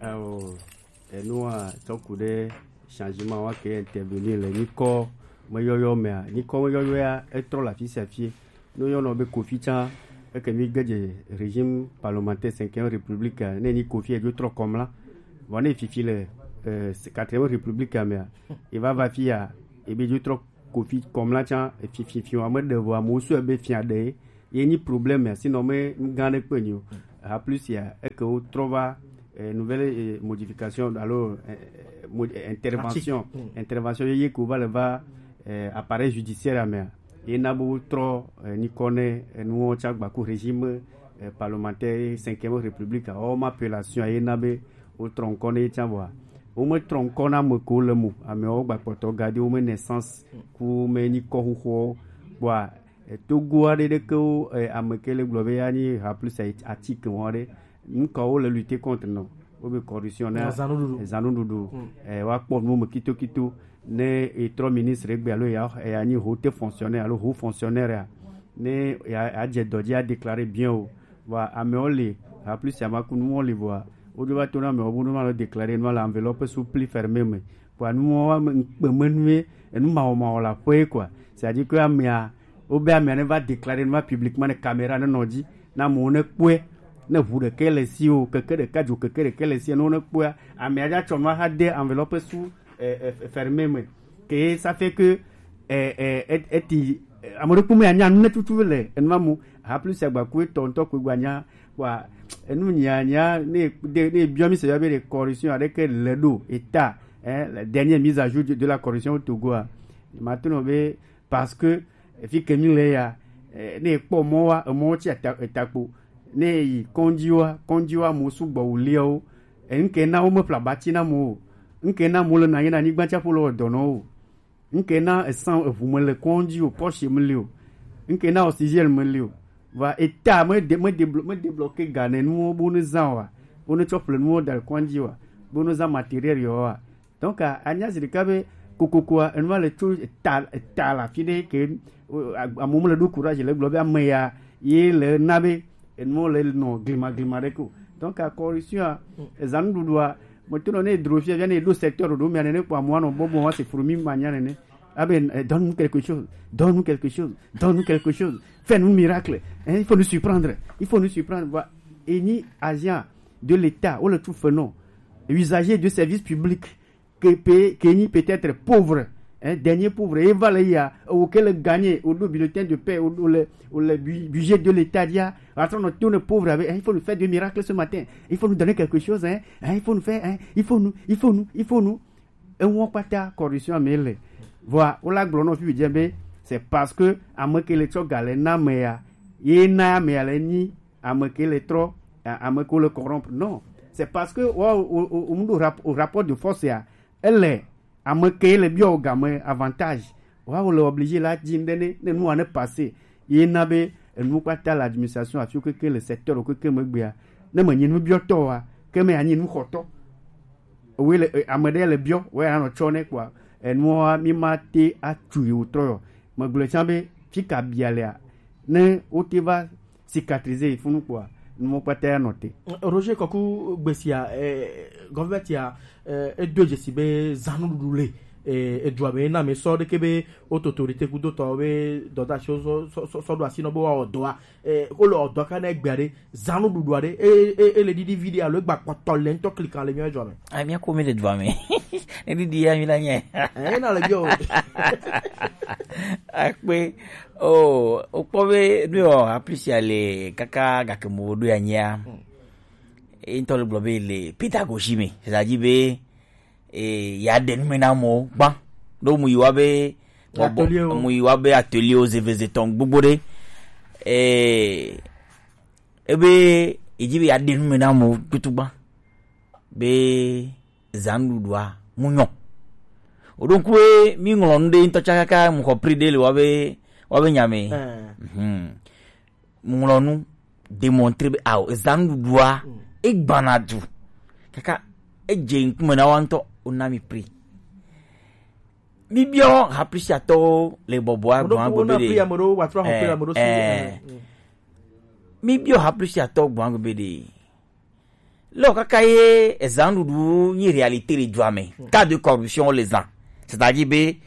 Ao. Enua tsɔ ku ɖe changement wa ke intervenir le nyikɔ Meyɔyɔ mea, nyikɔ meyɔyɔ ya etrɔ le afi sia afi. Ne woyɔnɔ be Kofi tsã, eke mi ge dze régime parlementaire cinquième république a, ne nyi Kofi edzo trɔ kɔmla. Vɔ ne fifi le eh, quatrième république a mea, eva va fi ya, ebe dzo trɔ Kofi kɔmla tsã, fifi fi wa me ɖe vɔ amewo sɔe be fia ɖe ye nyi problème ya, sinon me nu gã ɖe kpe nyi o. Ha plus ya eke wo trɔ va eh, nouvelle eh, modification alo eh, eh, mod- eh, intervention, intervention yeye ko va le va eh, appareil judiciaire a mea, ye na be wo trɔ eh, nyikɔ ne eh, nuwo tsã gbaku régime eh, parlementaire cinquième république a, wɔwɔ ma appellation ye na be wo trɔ ŋkɔ ne ye tsã vɔa, wo me trɔ ŋkɔ na ame ko le mo, amewo gba kpɔtɔ gadi wo me naissance ku me nyikɔ xoxowo. Kpɔa eh, Togo aɖe ɖe ke wo eh, ame ke le gblɔ be ya nyi ha plus atike wɔn aɖe, nu ka wo le lutter contre nɔ, wo be corruption na Azãnuɖuɖu. Azãnuɖuɖu. Eh, wa kpɔ nu me kito kito, ne etrɔ ministre egbe alo ya ya nyi haute fonctionnaire alo haut fonctionnaire a, ne ya ya dze dɔ dzi a déclarer bien o. Vɔa amewo li, ha plus amakunuwo li vɔa, wodzo va to na amewo bo no ma lo déclarer no le enveloppe sous pli fermé me. Vɔa nuwo ame ŋkpe me nue, enu mawɔmawɔ la ƒe quoi. C'est-à-dire que amea, wobe amea ne va déclarer nu ma publiquement ne caméra ne nɔ dzi, na amewo ne kpɔe, ne ʋu ɖeke le si o, keke ɖeka dzo keke ɖeke le si, ne wo ne kpɔa, amea dza tsɔ nua xa de enveloppe sous eh, eh, fermé me. Que ça fait que eh, eh, et- eti eh, ame ɖe kpɔmɔ ya nya nu ne tutu le enua mo. Ha plus agba ku etɔ ŋutɔ ko gba nya. Wa enu nya nya ne de ne biɔ mi se ya be de corruption aɖeke le ɖo eta eh, la dernière mise à jour de, de la corruption au Togo a. Maintenant be parce que eh, fi ke mi le ya eh, ne kpɔ mɔ wa emɔ tsi eta eta kpo, ne yi kɔndzi wa kɔndzi wa mo sugbɔ wuliawo. Ŋke na wo me ƒle abati na mo o. Ŋke na mo le na ye na anyigba tsaƒo le wɔ dɔ nɔ o. Ŋke na esan eʋu me le kɔndzi o, pɔshe me le o. Ŋke na oxygène me le o. Va eta me de me de me débloquer ga ne nuwo bo ne zã wa. Wo ne tsɔ ƒle nuwo da le kɔndzi wa. Bo ne zã matériel yɔ wa. Donc a- anya zi ɖeka be kokokoa enua le tso eta eta la fi ɖe ke o- a- amewo mele ɖo courage le gblɔ be ame ya ye le na be enuwo le nɔ glima glima ɖe ko. Donc a corruption a ezã nuɖuɖua, mo to nɔ ne dro fia via ne ɖo secteur ɖo mia nene kpɔ amewo anɔ bɔbɔ wa se fromi ma nya nene. Abe eh, donne-nous quelque chose, donne-nous quelque chose, donne-nous quelque chose, fais-nous un miracle. Hein, il faut nous surprendre, il faut nous surprendre. Voilà. Et ni agent de l'État ou le tout fenant, usager de service public, ke pe ke nyi peut-être pauvre, hein, dernier pauvre, e va le ya, o ke le gagner o do bulletin de paie o do le o le bu- budget de l'État dia, atrɔ nɔ to ne pauvre avec, hein, il faut nous faire des miracles ce matin, il faut nous donner quelque chose, hein, hein, il faut nous faire, hein, il faut nous, il faut nous, il faut nous. Ewo kpata corruption me le. Voilà, o la gblɔ nɔ fi dze be c'est parce que ame ke le tsɔ ga le na me ya, ye na me ya le nyi ame ke le trɔ, a- ame ke le corrompre. Non, c'est parce que wa o o o mu do rap- o rapport de force ya, ele ame ke le biɔ o game avantage. Wa o le obligé la dzi nde ne ne nua ne passer. Ye na be enu kpata le administration afi keke le secteur keke me gbea, ne me nyi nu biɔ tɔ wa, ke me anyi nu xɔtɔ. Owe le eh, ame ɖe le biɔ, wo ya nɔ tsɔ ne kpɔa, enua mi ma te atu yi o trɔ yɔ. Me gblɔ tsã be fi ka bia lea, ne wo te va cicatriser yi funu kpɔa, nuwo kpata ya nɔ te. Roger Kɔku gbesia, eh, gɔvɛti ya eh, edo dzesi be zãnuɖuɖu le eh, edua me na me sɔ ɖeke be wo to autorité kudo tɔ be dɔdasi sɔ sɔ sɔ sɔ ɖo asi nɔ be wa ɔdɔa eh, wo le ɔdɔa ka na egbea ɖe zãnuɖuɖua ɖe e e e le ɖiɖi vi ɖe alo egba kpɔtɔ le ŋutɔ klikan le miɔ dzua me. Ah, mía ko mi le dua me. Ne ɖiɖi ya mi la nye. Eh, na le biɔ. Akpe. Oh, okpɔ be ɖo aplisia le kaka gake mo ɖo ya nyia. Eyi ŋutɔ le gblɔ be le pédagogie me, c'est-à-dire be eh, ya ɖe nume na amewo gbã. Ɖo mu yi wa be bɔbɔ, mu yi wa be atelier wo zeveze tɔn gbogbo ɖe. Eh, ebe edzi be ya ɖe nume na amewo tutu gbã. Be zãnuɖuɖua mu nyɔ. O ɖo ŋku be mi ŋlɔ nu ɖe ŋutɔ tsã kaka mu xɔ prix ɖe le wa be wa be nya me. Mhm. Ŋlɔ nu démontrer be ao ezã nuɖuɖua egbana du kaka edze ŋkume na wa ŋutɔ wona mi prix. Mi biɔ haplisiatɔwo le bɔbɔa gbɔn agbe be ɖe. Mi biɔ haplisiatɔwo gbɔn agbe be ɖe. Lɔ kaka ye ezã nuɖuɖu nyi réalité le dua me. Cas de corruption le zã. C'est-à-dire be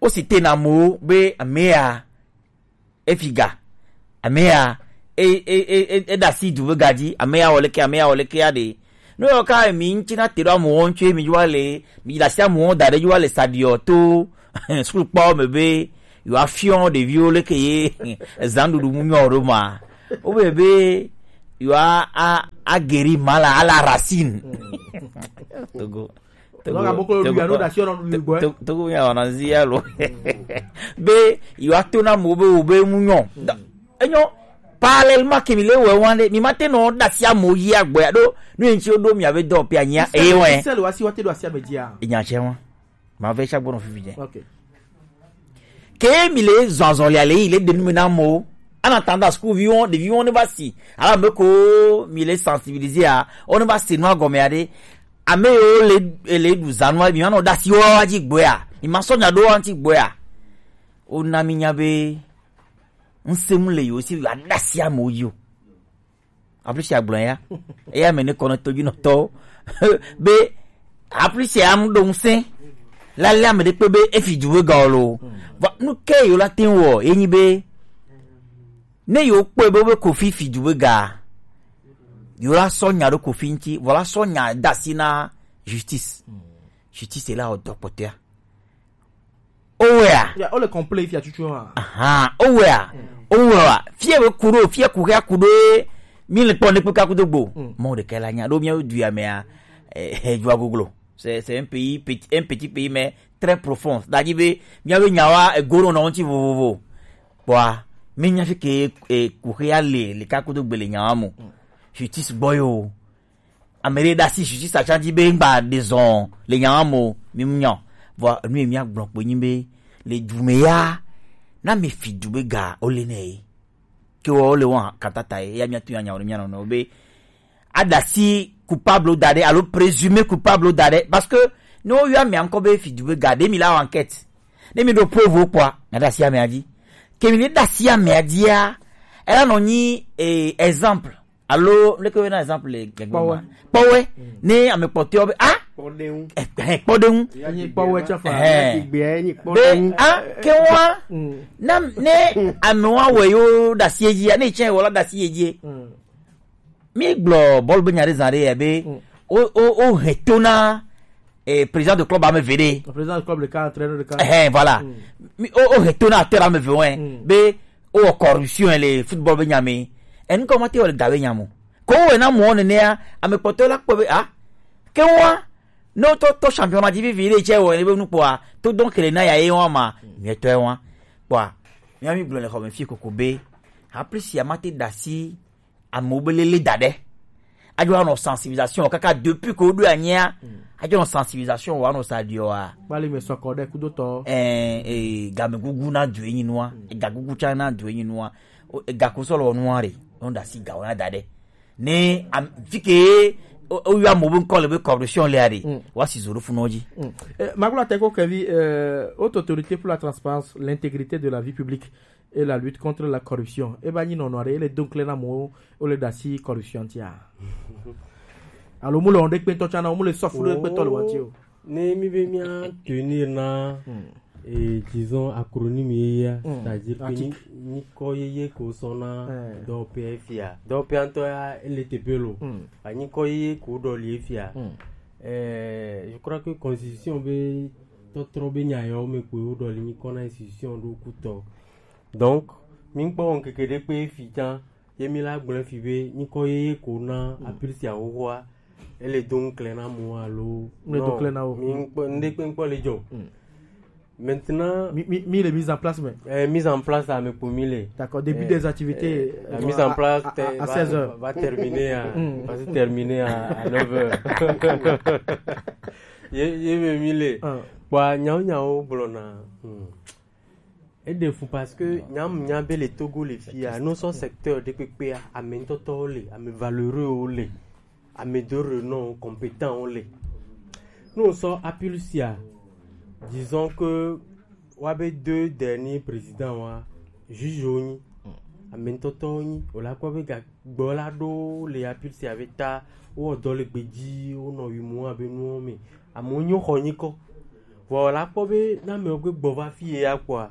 Wo si te na mo be amea e fi ga, amea e e e e e da si du be ga ji, amea wole ke, amea wole ke ya de. No yo ka mi nchi na te do mo won che mi jwa le, mi da si mo won da de jwa le sadio to school pa me be yo afion de vi o le ke ye zan du du mu mi o do ma. O be be yo a a a guéri mal à la racine. Togo. Togo, Togo, Togo, Togo, ya wana zi ya lo. Be, yo ato na mo be, o be mu nyo. Da, enyo, parallèlement ke mi le we wan de, mi ma te no da si a mo yi agbo ya do, no en ti o do mi ave do pe anya, e we. Sel wa si wa te do si a be dia. Enya che wan. Ma ve cha gbo no fifi je. Okay. Ke mi le zɔnzɔn le ale yi le denu me na mo. Ana tanda school vi won, de vi won ne ba si. Ala me ko mi le sensibiliser a. On ne ba si no agome ade. Ame yo le le du zanu mi ma no da si wa ji gbo ya. Mi ma so nya do anti gbo ya. O na mi nya be. Nsem le yo si wa da si amo yo. Application agblɔ ya. Eya me ne kɔnɔ toju nɔ tɔ. Be application am do ŋsɛ. La le ame de pe be efi du be ga lo. Va nu ke yo la tin wo, enyi be. Ne yo pe be be Kofi fi du be ga. Yo la so nya do Kofi nti, voilà so nya da si na justice. Justice la o dopotea. Owea. Ya, o le complain fi atutu wa. Aha, owea. Owea. Fie we kuro, fie kuhe akudo. Mi le pon ne pe ka kudo gbo. Mo de kala nya do mi o du ya me a. Eh, eh, jua goglo. C'est c'est un pays petit, un petit pays mais très profond. C'est-à-dire be mi ave nya wa e goro na onti vovovo. Bwa mi nya fi ke e kuhe ya le le ka kudo gbe le nya wa mo. Justice boyo. Ame ɖe ɖe asi justice atsa dzi be ŋgba ɖe zɔn le nya ma mo, mi mu nya o. Vɔ enu ye mía gblɔ kpoe nyi be le du me ya, na mi fi du be ga wo le nɛ ye. Ke wɔ wo le wɔn katata ye, ya mía tu nya nya wo ɖe mía nɔnɔewo be aɖe asi coupable da ɖe alo présumé coupable da ɖe, parce que ne wo yɔ amea ŋkɔ be fi du be ga ɖe mi la wɔ enquête, ne mi ɖo preuve wo kpɔa, mia ɖe asi amea dzi. Ke mi le ɖe asi amea dzia, ela nɔ nyi eh, exemple. Alo leke wo na exemple le gbegbe kpɔwɛ ma? Kpɔwɛ. Ne ame kpɔtɔewo be ah, kpɔɖeŋu. Eh, eh, kpɔɖeŋu. Enyi kpɔwɛ tsɔ fa. Eh. Egbea enyi be kpɔɖeŋu. Ah, ke wa na ne ame wa wɔ yewo ɖe asi ye dzia, ne tsɛ wɔ la ɖe asi ye dzie. Mi gblɔ bɔlu be nya ɖe zã ɖe ya be o o o hɛn to na eh, président de club ame eve ɖe. Président de club ɖeka, entraîneur ɖeka. Eh, voilà. Mi o o hɛn to na acteur ame eve wɛ be o wɔ corruption le football be nya me. Enu kɔ ma te wɔ le ga be nya mo. Ko wɔ na mo nenea, ame kpɔtɔ la kpɔ be ah, ke wa no to to championnat dzi vivi ɖe tsɛ wɔ ne be nu kpɔa, to donc le na ya ye wa ma, mietɔ ye wa. Kpɔa, mía mi gblɔ le xɔ me fi koko be, ha plus ya ma te ɖe asi amewo be lele da ɖe. Adzɔ anɔ sensibilisation kaka depuis que woɖo anyia. Adzɔ nɔ sensibilisation wa nɔ sa ɖiɔ wa. Kpali me sɔkɔ ɖe kudotɔ. Eh, eh, gamegugu na du enyi nua, gagugu tsa na du enyi nua. O, eh, gako sɔ lɔ nua re, on da si gawo na da ɖe. Ne am, fi ke o, o yɔ amewo be ŋkɔ le be corruption le are. Wa si zo ɖo funɔ dzi. Eh, Magula Teko Kevi, eh, Haute Autorité pour la Transparence, l'Intégrité de la Vie Publique et la Lutte contre la Corruption. E ba nyi nɔnɔ aɖe, ele do ŋkle na amewo, wo le ɖe asi corruption tia. Alo mu le wɔn ɖe kpɛtɔ tsã na, mu le sɔfu ɖe kpɛtɔ le wɔn ti o. Ne mi be mía tenir na, eh, disons acronyme ye ya, c'est-à-dire que nyi-, nyikɔ yeye ko sɔ na dɔwɔƒea fia. Dɔwɔƒea ŋutɔ ya, ele teƒe lo. Ba nyikɔ yeye ko ɖɔli fia. Eh, je crois que constitution be tɔtrɔ be nya yawo me ko wo ɖɔli nyikɔ na institution ɖo kutɔ. Donc, mi kpɔ ŋkeke ɖe kpe fi tsã, ye mi la gblẽ fi be nyikɔ yeye ko na apilisia xoxoa, ele do ŋklẽ na mo alo. Ne do ŋklẽ na wo. Mi ŋkpɔ, ŋɖe kpe ŋkpɔ le dzɔ. Maintenant, mi, mi, mi le mise en place me. Eh, mise en place ame kpo mi le. D'accord, début des activités, eh, la mise en place à, à, à seize heures. Va terminer à, va se terminer à, à neuf heures. Ye, ye me mi le. Kpɔa, nyawo, nyawo gblɔna. Eɖe fu parce que nyamu nya be le Togo le fia, no sɔ secteur ɖe kpekpea, ame ŋutɔtɔwo le, ame valeureux wo le, ame de renom, compétent wo le. No sɔ appeal sia, disons que wa be deux derniers présidents wa, juge wo nyi, ame ŋutɔtɔwo nyi, o la kpɔ be ga gbɔ la ɖo le appeal sia be ta, wo dɔ le gbeji, wo nɔ wi mo abe nuwo me. Amewo nyo xɔ nyikɔ. Vɔ la kpɔ be na mɛ gbe gbɔ va fi ye ya kpɔa,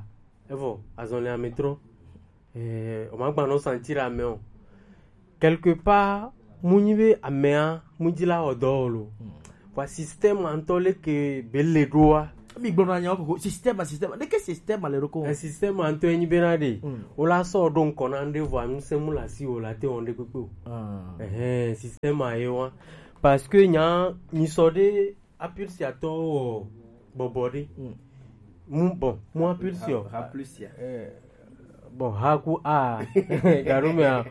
evɔ azɔn le ame trɔ. Eh, o ma gba nɔ sentir ame o. Quelque part, mu nyi be amea mu dzi la wɔ dɔ o lo. Vɔ système ŋutɔ le ke be le ɖoa. Mi gblɔ na nya koko système, système. De ke système le ɖo ko? Eh, système ŋutɔ enyi be na de. Mm. O la sɔ ɖo ŋkɔ na ŋɖe vɔ anu se mu la si o la te wɔn ɖe kpekpe o. Ah. Eh, système a ye wa. Parce que nya nyi sɔ ɖe Apulsia tɔ wɔ bɔbɔ ɖe. Mm. Mu bon, mu Apulsia. Ha, Apulsia. Eh, bon, ha ku a. Garo me a.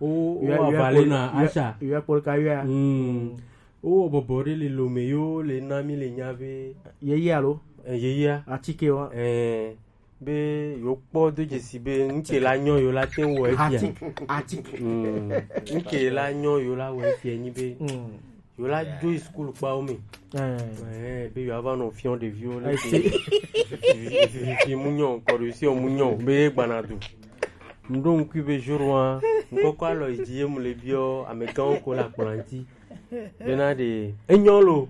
O, o avale na asha. Yo kpɔ ka yo. Mm. O wɔ bɔbɔ ɖe le lo me yo le na mi le nya be. Ye ye alo? Eh, ye ye. Atike wa. Eh, be yo kpɔ do dzesi be ŋke la nyɔ yo la te wɔ efia. Atike, atike. Mm. Ŋke la nyɔ yo la wɔ efia nyi be. Mm. Yo la dzo yi sukulu kpawo me. Eh. Eh, be yo ava nɔ fiɔ ɖeviwo le. Fifi mu nyɔ, kɔɖosi mu nyɔ, be ye gbana du. Ŋɖo ŋkui be jour wa, ŋkɔkɔ alɔ yi dzi ye mu le biɔ, amegãwo ko la kplɔ ŋti. Bena de, enyɔ lo.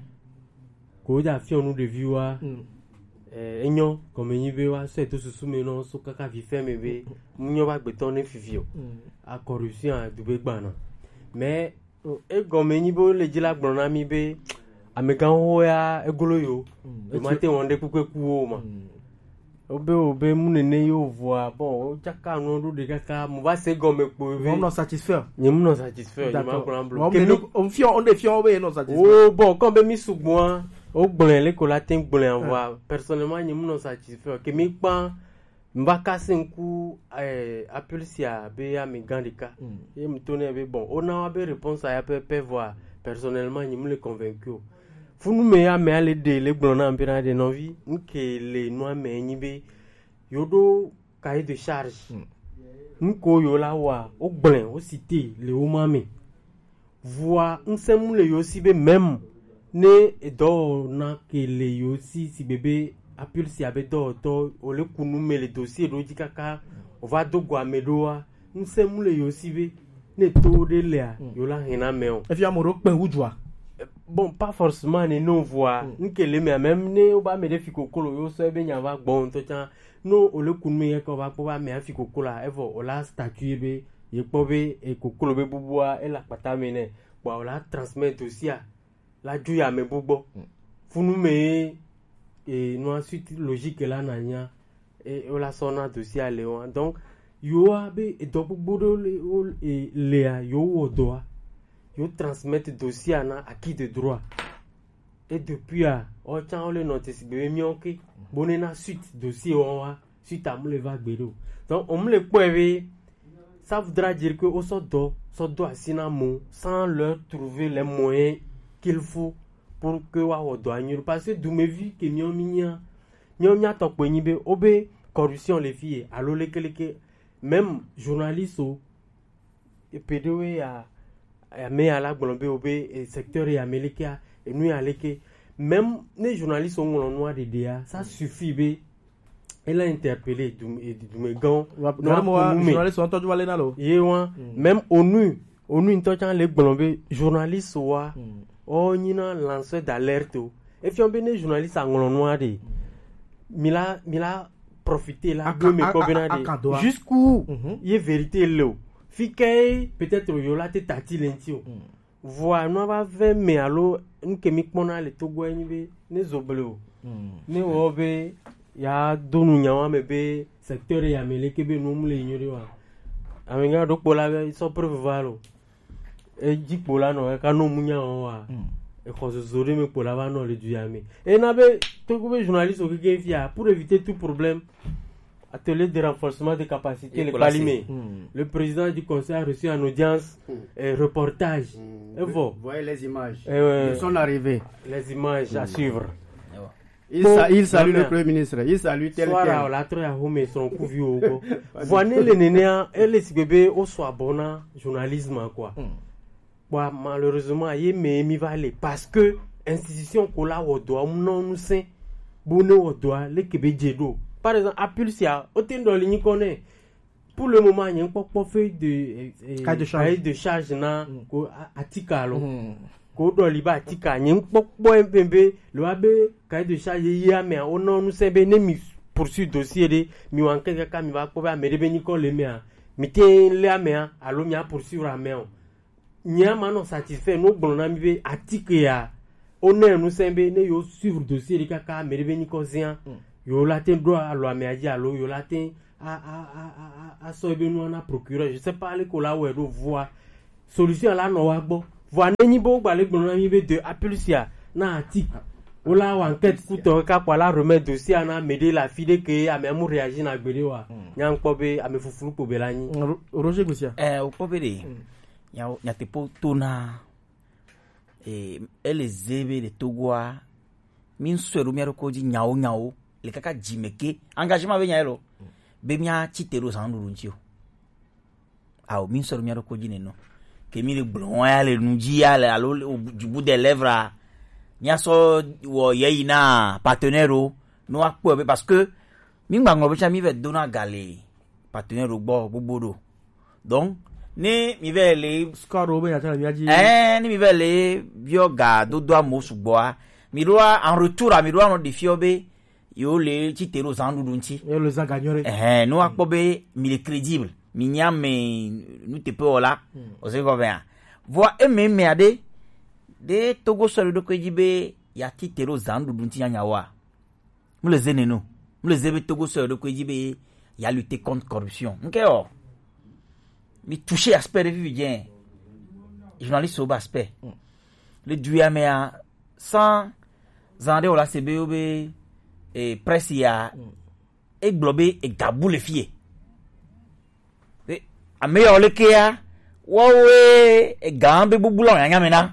Ko dza fiɔ nu ɖeviwoa. Mm. Eh, enyɔ, kɔme nyi be wa sɔ eto susu me nɔ so kaka vi fɛ me be, mu nyɔ va gbetɔ ne fifi o. Mm. A corruption a du be gbana. Mais, egɔme nyi be wole dzi la gblɔ na mi be amegãwo ya egolo yo. Mm. Yo ma te wɔn ɖe kpekpe ku wo ma. Mm. Wobe, wobe mu nene yo vɔa, bon, wo tsaka nu ɖo ɖe kaka, mu va se gɔme kpo be. Wɔm nɔ satisfaire. Nye mu nɔ satisfaire, nye ma gblɔ blo. Wɔm nene, wɔm fiɔ, wɔm ɖe fiɔ wo be ye nɔ satisfaire. Oh, bon, comme be mi sugbɔa, wo gblɔe le ko la te gblɔe vɔa. Personnellement, nye mu nɔ satisfaire. Ke mi kpa, Mva kase ŋku, eh, appel sia be amegã ɖeka. Mm. Ye mu to nɛ be bon, o na wa be réponse ya pɛpɛ vɔa, personnellement, nyi mu le convaincu o. Funu me ya me ale de le gblɔ na be na de nɔvi, nke le nua me nyi be, yo ɖo cahier de charge. Mm. Nko yo la wa, o gblẽ, o cité, le o ma me. Vɔa ŋsẽ mu le yo si be même ne edɔwɔna ke le yo si, si be be appel sia be dɔwɔtɔ, o le kunu me le dossier ɖo dzi kaka, o va do go ame ɖoa, ŋsẽ mu le yo si be ne to ɖe lea, yo la hɛn na mɛ o. Efi ame ɖo kpɛ wu dzua? Bon, pas forcément ne non vɔa, nke le mea, même ne o ba me ɖe fi kokolo, yo sɔ be nya va gbɔ ŋutɔ tsã, no o le kunu me yɛ kɔ va kpɔ ba me afi kokolo a, evɔ o la statut be, ye kpɔ be, e kokolo be bubua, e la kpata me nɛ. Kpɔa, o la transmettre aussi a, la dzo yi ame bu gbɔ. Mm. Funu me ye, e, nua suite logique la na nya, e, o la sɔ na dossier a le wa. Donc, yo wa be, edɔ gbogbo ɖe le, o, e, lea, yo wɔ dɔa, yo transmettre dossier a na acquis de droit. Et depuis a, o tsã o le nɔ te sigbe be miɔ ke, bo ne na suite dossier wa wa. Suite a mu le va gbe ɖo. Donc, o mu le kpɔe be, ça voudra dire que o sɔ dɔ, sɔ do asi na mo, sans leur trouver les moyens qu'il faut pour que wa wɔ dɔ anyi ɖo. Parce que dumevi ke miɔ mi nya, miɔ mia tɔ kpɔe nyi be, o be corruption le fi ye, alo lekeleke, même journaliste o, epe ɖewoe ya, ame ya la gblɔ be, o be, e, secteur ya me lekea, enu ya leke. Même ne journaliste wo ŋlɔ nua ɖeɖea, ça suffit be, ele interpeller dum-, e, dumegãwo. Wa, nɔ gari mo wa, kunu me. Journaliste wo ŋutɔ dzo va le na lo. Ye wa, même onu, onu ŋutɔ tsã le gblɔ be, journaliste wa, o nyina lanceur d'alerte o. Efiɔ be ne journaliste a ŋlɔ nua ɖe, mi la, mi la profiter la, aka-, do me a-, kpɔ bena a-, ɖe, aka doa. Jusqu'où ye vérité le o. Fi ke peut-être yo la te tati le ŋti o. Vɔa nua va vɛ me alo nuke mi kpɔna le Togo enyi be, ne zo ble o. Ne wɔ be, ya do nu nyawa me be, secteur ya me leke be nu mu le nyo ɖe wa. Amegã ɖo kpɔ la be, sɔ preuve va lo. Edzi kpo la nɔ, eka nɔ mu nya wɔn wa. Exɔ zozo ɖe me kpo la va nɔ le du ya me. Ena be, Togo be journaliste o keke fia, pour éviter tout problème, atelier de renforcement de capacité le Palime. Le président du conseil a reçu en audience, et reportage. Evɔ. Voyez les images. Eh ouais. Ils sont arrivés. Les images à suivre. Il sa-, il salue le premier ministre. Il salue tel quel. Soara o la trɔ ya home srɔn kuvi o ko. Vɔ ne le nenea, ele sigbe be o sɔ abɔ na journalisme quoi. Bon, malheureusement, ye me mi va le parce que institution ko la wɔ dɔa mu nɔ nu sɛn. Bo ne wɔ dɔa, leke be dze ɖo. Par exemple, appel sia, o te ŋdɔ le nyi kɔ nɛ. Pour le moment, nye kpɔkpɔ feuille de, eh, eh, cahier de charge. Cahier de charge na ko a-, atika lo. Ko ɖɔ li ba tika nye ŋkpɔkpɔ ye be le wa be cahier de charge ye amea, wo nɔ nu sɛ be ne mi poursuit dossier ɖe, mi wa ŋke kaka mi va kpɔ be ame ɖe be nyikɔ le mea, mi te le amea alo mi a poursuivre amea o. Nye ama nɔ satisfait no gblɔ na mi be atike ya, wo ne nu sɛ be ne yo suivre dossier ɖe kaka ame ɖe be nyikɔ zia, yo la te ɖo alo amea dzi alo yo la te a a a a a sɔ ebe nua na procureur, je sais pas le ko la wɛ ɖo vua. Solution la nɔ wa gbɔ. Vɔa ne nyi be wo gba le gblɔ na mi be de appel sia na ati. Wo la wa enquête kutɔ ka kpa la remet dossier na me ɖe la fi ɖe ke ame mu réagir na gbe ɖe wa. Nya ŋkpɔ be ame fufulu kpo be la nyi. Ro- Roger Gbesia. Eh, o kpɔ be ɖe. Nyawo nyateƒewo to na. Eh, ele ze be le Togoa. Mi ŋsɔe ɖo mia ɖokɔ dzi nyawo nyawo. Le kaka dzi me ke. Engagement be nya elo. Be mia tsi te ɖo zan ɖuɖu ŋtsi o. Ao, mi sɔ mia ɖo ko dzi neno. Ke mi le gblɔ ya le nu dzi ya le alo le au bout des lèvres a, mia sɔ wɔ yeyi na partenaire o, no akpɔ be parce que mi gba ŋlɔ be tsa mi vɛ dona ga le partenaire o gbɔ gbogbo ɖo. Donc, ne mi vɛ le score o be nya tsa le mia dzi. Eh, ne mi vɛ le biɔ ga dodo amo sugbɔ a, mi ɖo a, en retour a, mi ɖo anɔ ɖefiɔ be yewo le tsi te ɖo zan ɖuɖu ŋtsi. Yewo le zan ganyo ɖe. Ɛhɛn, ne woakpɔ be mi le crédible, mi nye ame nuteƒewɔla, ose kɔ bɛa. Vɔa eme mea ɖe, ɖe Togo sɔ ɖe ɖokui dzi be ya tsi te ɖo zan ɖuɖu ŋtsi nyanyawoa? Mu le ze neno. Mu le ze be Togo sɔ ɖe ɖokui dzi be ya lutter contre corruption. Ŋke o. Mi toucher aspect ɖe vivi dze. Journaliste wo be aspect. Le du ya mea, sans zan ɖe o la se be wo be eh, presse ya egblɔ be ega bu le fie. Be ame yawo le kea, woawoe ega be gbogbo la nyanya me na.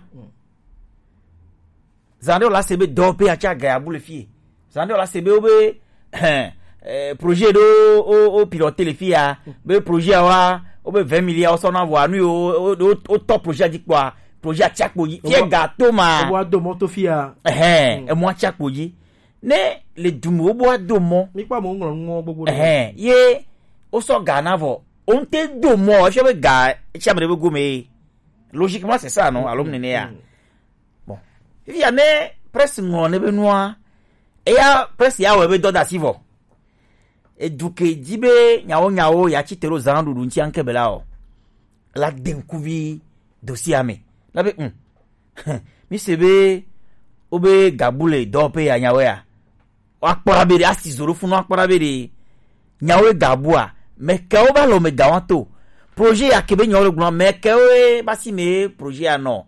Zan ɖe o la se be dɔ pe atsa ga ya bu le fie. Zan ɖe o la se be wo be eh, projet ɖo o o pilote le fia, be projet wa o be vingt milliards o sɔ na vɔ anu yo o o o tɔ projet dzi kpɔa, projet atsa kpo dzi fie ga to ma. Wa do moto fia. Ɛhɛn, emu atsa kpo dzi. Ne le du me wo bo ado mɔ. Mi kpɔ amewo ŋlɔ nuwo gbogbo ɖe. Ɛhɛn, ye wo sɔ ga na vɔ. O ŋte do mɔ, efia be ga etsi ame ɖe be gome. Logiquement c'est ça non, alo nene ya. Bon. Fifia ne presse ŋlɔ ne be nua, eya presse ya wɔ be dɔda si vɔ. Edu ke dzi be nyawo nyawo ya tsi te ɖo zan ɖuɖu ŋtsi anke be la o. La de ŋkuvi dossier me. Na be, hm. Mi se be, o be gabu le dɔwɔƒe ya nyawo ya. Woakpɔ ɖa be ɖe, asi zo ɖo funu akpɔ ɖa be ɖe, nyawo ye gabua, mɛ kɛwo ba lɔ mɛ gawa to. Projet ya ke be nyawo le gblɔ, mɛ kɛwo ye ba si me projet ya nɔ.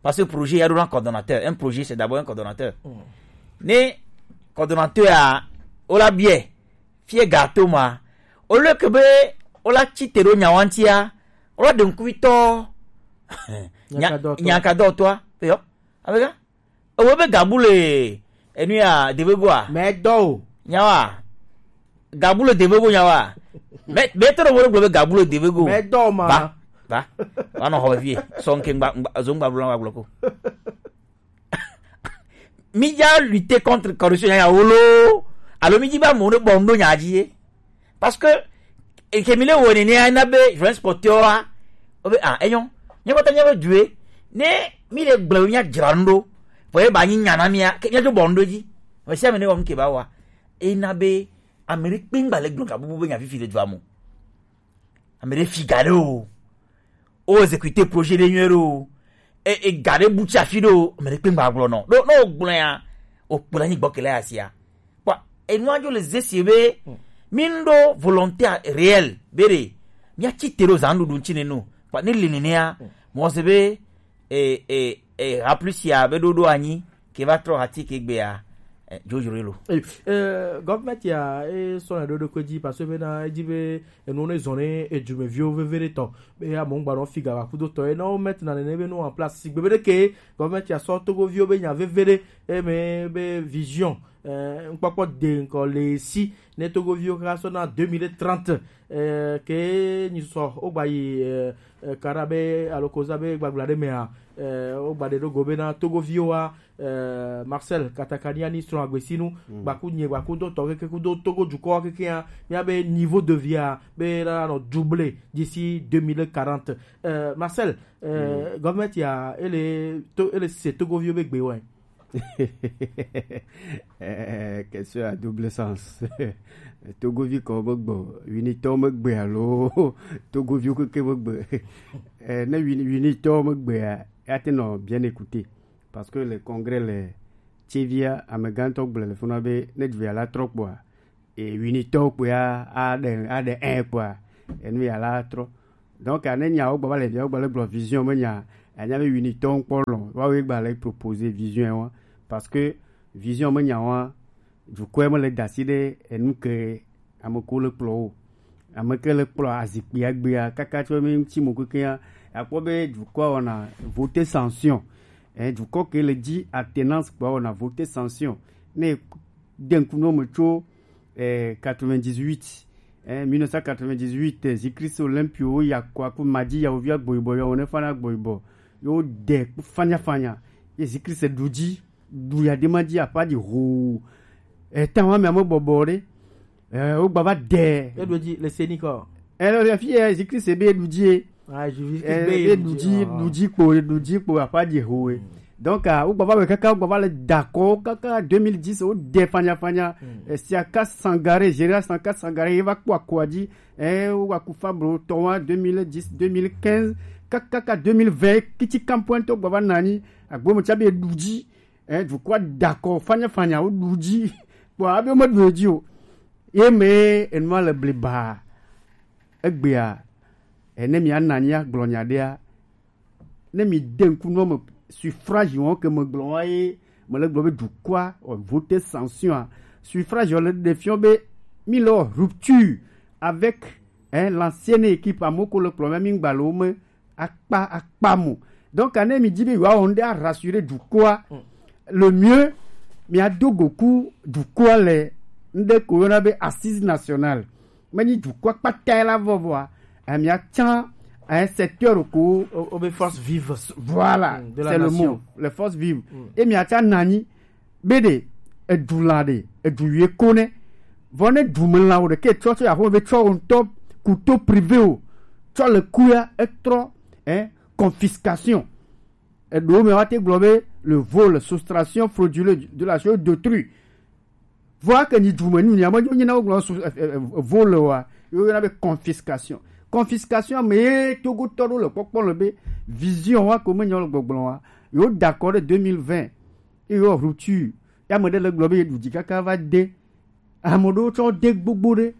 Parce que projet ya ɖo na coordonnateur. Un projet, c'est d'abord un coordonnateur. Ne coordonnateur ya, o la biɛ, fie ga to ma. O le ke be, o la tsi te ɖo nyawa ŋtia, o la ɖe ŋkuvitɔ. Nya-, nyakadɔtɔ. Nyakadɔtɔa, eyɔ, abega. Ewo be gabu le enu ya debe goa. Mɛ dɔ o. Nyawa. Gabu le debe go nyawa. Mɛ, mɛ tɔ ɖe wo gblɔ be gabu le debe go. Mɛ dɔ ma. Va, va. Va nɔ xɔ vie. Sɔ ŋke ŋgba, ŋgba, zo ŋgba blo na wa gblɔ ko. Mi dza lutter contre corruption ya wolo. Alo mi dzi ba mo ne bɔ ŋdo nya dzi ye. Parce que, eke mi le wɔ nene ya na be journaliste kpɔtɔa, o be, ah, enyo. Nye kpɔtɔ nye be due. Ne mi le gblɔ mi nya dzra ŋdo. Vɔ ye ba nyi nya na mia, ke mia dzo bɔ ŋdo dzi. Mɛ sia mɛ ne wɔ mi ke ba wa. E na be, ame ɖe kpe ŋgba le gblɔ ka bubu be nya fifi le dua mo. Ame ɖe fi ga ɖe o. O exécuter projet ɖe nyuie ɖe o. E, e ga ɖe bu tsi afi ɖe o. Ame ɖe kpe ŋgba gblɔ nɔ. Ɖo, ne o gblɔ ya, o kplɔ anyi gbɔ ke le asia. Kpɔ, enua dzo le zesi be, mi ŋɖo volonté réelle, be ɖe, mia tsi te ɖo zan ɖuɖu ŋtsi ne no. Kpɔ, ne le nenea, mɔ se be, e, e, e, ha plus ya be ɖoɖo anyi, ke va trɔ hati ke gbea, eh, dzodzro lo. Eh, eh, government ya, eh, sɔ na ɖo ɖo ko dzi, parce que be na, edzi be, enu ne zɔ ne, edumeviwo veve ɖe tɔ. Be amewo ŋgba nɔ fi ga va kudo tɔ, ena wo mettre na nene be nu en place. Sigbe be ɖe ke, government ya sɔ Togoviwo be nya veve ɖe, eme be vision, eh, ŋkpɔkpɔ de ŋkɔ le si, ne Togoviwo ka sɔ na deux mille trente, Eh, ke nyisɔ wogba yi eh, eh, kara be alo koza be gbagbla ɖe mea eh, wogba ɖe ɖo go be na togoviwo wa eh, Marcel Katakania ni srɔ̃ agbesinu gbaku nye gbaku do tɔ keke kudo togo dukɔ keke ya mia be niveau de vie a be la nɔ double d'ici deux mille quarante. Eh, Marcel, eh, government ya ele to ele se togoviwo be gbe wɛ. Eh, question à double sens. Togovi kɔ be gbɔ, winitɔ me gbe alo togovi keke me gbe. Eh, ne wini winitɔ me gbe ya, ya te nɔ bien écouter. Parce que le congrès le tsevia amegãtɔ gblɔ le funa be ne dvi ala trɔ kpɔa, e winitɔ kpɔa aɖe aɖe ɛ kpɔa enu ya la trɔ. Donc ane nya wo gbɔ va le via wo gbɔ le gblɔ vision me nya anya be winitɔ ŋkpɔ lɔ wa wo gba le proposer vision wa. Parce que vision me nya wa dukɔe me le dasi ɖe enu ke ame ko le kplɔ wo, ame ke le kplɔ azikpui agbea kaka tso mi ŋuti mo keke ya akpɔ be dukɔa wɔna voter sanction. Eh, dukɔ ke le dzi attenance kpɔa wɔna voter sanction. Ne de ŋku nɔ me tso eh, quatre-vingt-dix-huit eh, mille neuf cent quatre-vingt-dix-huit eh, zikristo olympio wo ya kɔ aku madzi ya wovia gboyibɔ ya wone fana gboyibɔ yo de fanya fanya ye zikristo du dzi du ya de madzi apa di ho eh, tan wa me ame bɔbɔ ɖe eh, wo gba va de Eɖo dzi le seni kɔ. eh, le fi eh, zikristo be du dzi ye Ah, je vis eh, be du dzi du dzi kpo du dzi kpo apa di ho ye. Donc ah, wo gba va me kaka wo gba va le dakɔ kaka deux mille dix wo de fanya fanya eh, siaka sangare général siaka sangare ye va kpɔ akɔa dzi eh, wo wa kufa bro tɔwa deux mille dix deux mille quinze kaka ka deux mille vingt kiti kampoento gba va nanyi agbo mo tsa be du dzi eh, dukɔa dakɔ fanya fanya wo du dzi kpɔ abe mo du dzi o ye me enua le bliba egbea ene mi ananya gblɔ nya ɖea ne mi de ŋku nɔ me suffrage wɔn ke me gblɔ wa ye me le gblɔ be dukɔa o voter sanction a suffrage le ɖe fiɔ be mi le rupture avec hein, l'ancienne équipe amoko le kplɔ me mi gba le wo me akpa akpa mo. Donc ane mi di be yewoawɔ ŋɖe arassurer dukɔa le mieux miado goku dukɔa le ŋɖe ko yɔna be assise nationale menyi dukɔa kpata la vɔvɔa eh, miatsã un secteur ko Au, au force vive. Voilà, Mm, de la c'est le nation. Mot, les forces vives. Et miatsã nanyi be ɖe edu la ɖe edu yue ko ne vɔ ne du me la wo ɖe ke tsɔ tsɔ ya ho ve tsɔ wo ŋutɔ couteau privé o tsɔ le kuya etrɔ hein confiscation eɖewo me wa te gblɔ be le vol soustraction frauduleuse de la chose d'autrui vɔa ke nyi dume nu nya me nyi na wo gblɔ su eh, eh, eh, vol wa yo yɔna be confiscation confiscation me ye togo tɔ ɖo le kpɔkpɔ le be vision wa ko me nyɔ le gbɔgblɔ wa yo d'accord ɖe deux mille vingt ye yo rupture ya me ɖe le gblɔ be ye ɖu dzi kaka va de ame ɖewo tsɔ de gbogbo ɖe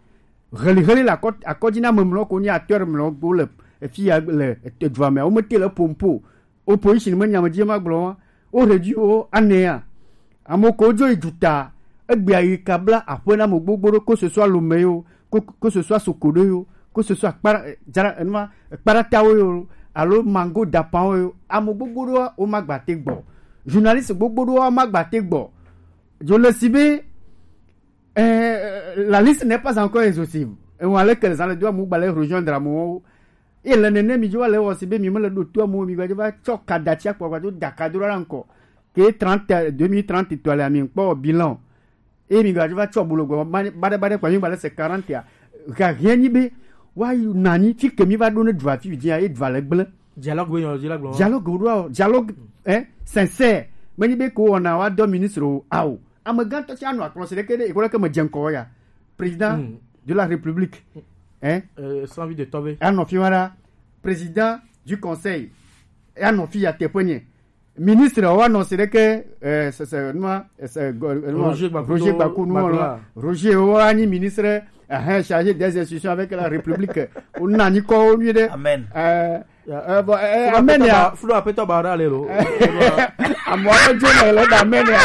heliheli le akɔ akɔdzi na ame mlɔ ko nye acteur mlɔ gbo le efi ya le edua me wo me te le pompo opposition me nya me dzi ma gblɔ wa wo réduit wo anea ame ko dzo yi duta egbea yi kabla aƒe na ame gbogbo ɖo ko ce soit Lomé yo ko ko ce soit Sokodé yo ko ce soit kpara eh, jara enuma kparatawo yo alo mango dapanwo yo ame gbogbo ɖo wo ma gba te gbɔ journaliste gbogbo ɖo wo ma gba te gbɔ dzo le si be eh, la liste n'est pas encore exhaustive et on allait que les gens le doivent mugba les rejoindre amewo et le nene mi dzo le wo si be mi me le do to amewo mi gba va tsɔ kadatsi akpɔ gba do daka do la encore que trente deux mille trente to le ami kpɔ bilan et mi gba va tsɔ bolo gba ba de ba de kwa mi gba le se quarante ya ga rien ni be wa yu nani fi ke mi va do ne dua fi dia e dua le gble Dialogue be nyɔ dzi la gblɔ. Dialogue wo ɖoa dialogue hein sincère menyi be ko wɔna wa dɔ ministre o ao amegãtɔ tsi anɔ akplɔ si ɖeke ɖe ekɔ ɖeke me dze ŋkɔ ya président Mm. de la république hein Euh, sans vie de tomber. anɔ fi wa ɖa président du conseil anɔ fi ya teƒe nye ministre wa nɔ si ɖeke eh, se se nua se go- nua- Roger Gbakudo- Roger Gbakudo nua Gbakudo. Roger wa nyi ministre hein, chargé des institutions avec la république wo na nyi kɔ wo nyuie ɖe Amen. euh, Ya, eh, bon, eh, eh, amen ya. Flo apetɔ ba ɔda le lo. Amewo aɖe dzo le le da amen ya.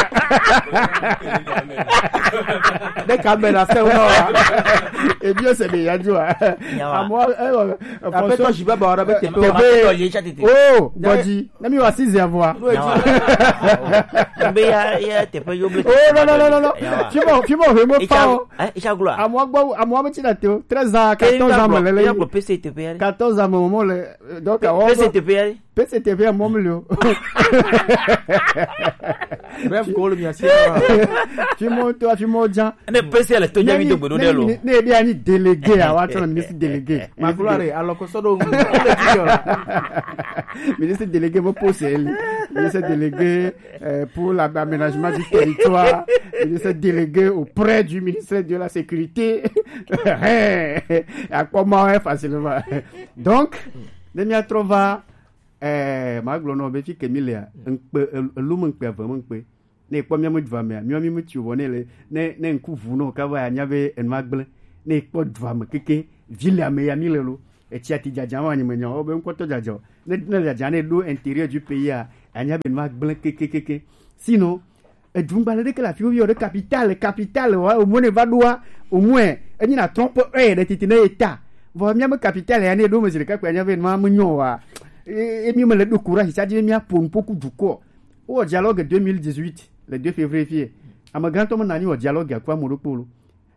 Ɖe ka amen na se wo wa. Ebi o se be ya dzo a. Amewo, eh, bon, eh, apetɔ ji be ba ɔda be teƒe. Teƒe. Oh, bɔdzi. Ne mi wa six ya vɔa. Be ya, ya teƒe yo ble. Oh, non, non, non, non, non. Fimo, fimo, fimo pa o. Amewo gbɔ, amewo be tsi na te o. Treize ans, quatorze ans me le le. Quatorze ans me mo le. Donc, awo P C T P ya. P C T P ya mo mli o. Bref, ko le mi asi. Fimo to, fimo djan. Ne P C le to djan mi do gbedo de lo. Ne bi ani délégué, awa to ministre délégué. Ma gloire, alors que ça donc, ministre délégué mo poste, ministre délégué euh, pour l'aménagement du territoire, ministre délégué auprès du ministère de la Sécurité. À comment facilement. Donc, ne mi atrova, eh, ma gblɔ nɔ be fi ke mi lea, ŋkpe, el-, elu me ŋkpe ave me ŋkpe. Ne kpɔ mi ame dua mea, mi mi tsi vɔ ne le, ne, ne ŋku vu nɔ, ka va ya nya be enu agble. Ne kpɔ dua me keke, vi le ame ya mi le lo. Etsi ati dzadza wa nyi me nya, o be ŋkɔtɔ dzadza. Ne, ne dzadza ne ɖo intérieur du pays a, anya be nu agble kekekeke. Sinon, edungbalẽ ɖeke le afi wo yɔ ɖe capitale, capitale wa, au moins ne va ɖoa, au moins, enyi na trompe ɛ ɖe titi ne eta. Vɔ mía me capitale ya ne ɖo me zi ɖeka kpe anya be nua me nyɔ wa. E, e, mi me le ɖo courage, ça dit mía ƒo nu ƒo ku dukɔ. Wo wɔ dialogue deux mille dix-huit, le deux février fie. Ame gãtɔ me nanyi wɔ dialogue aku ame ɖokpo lo.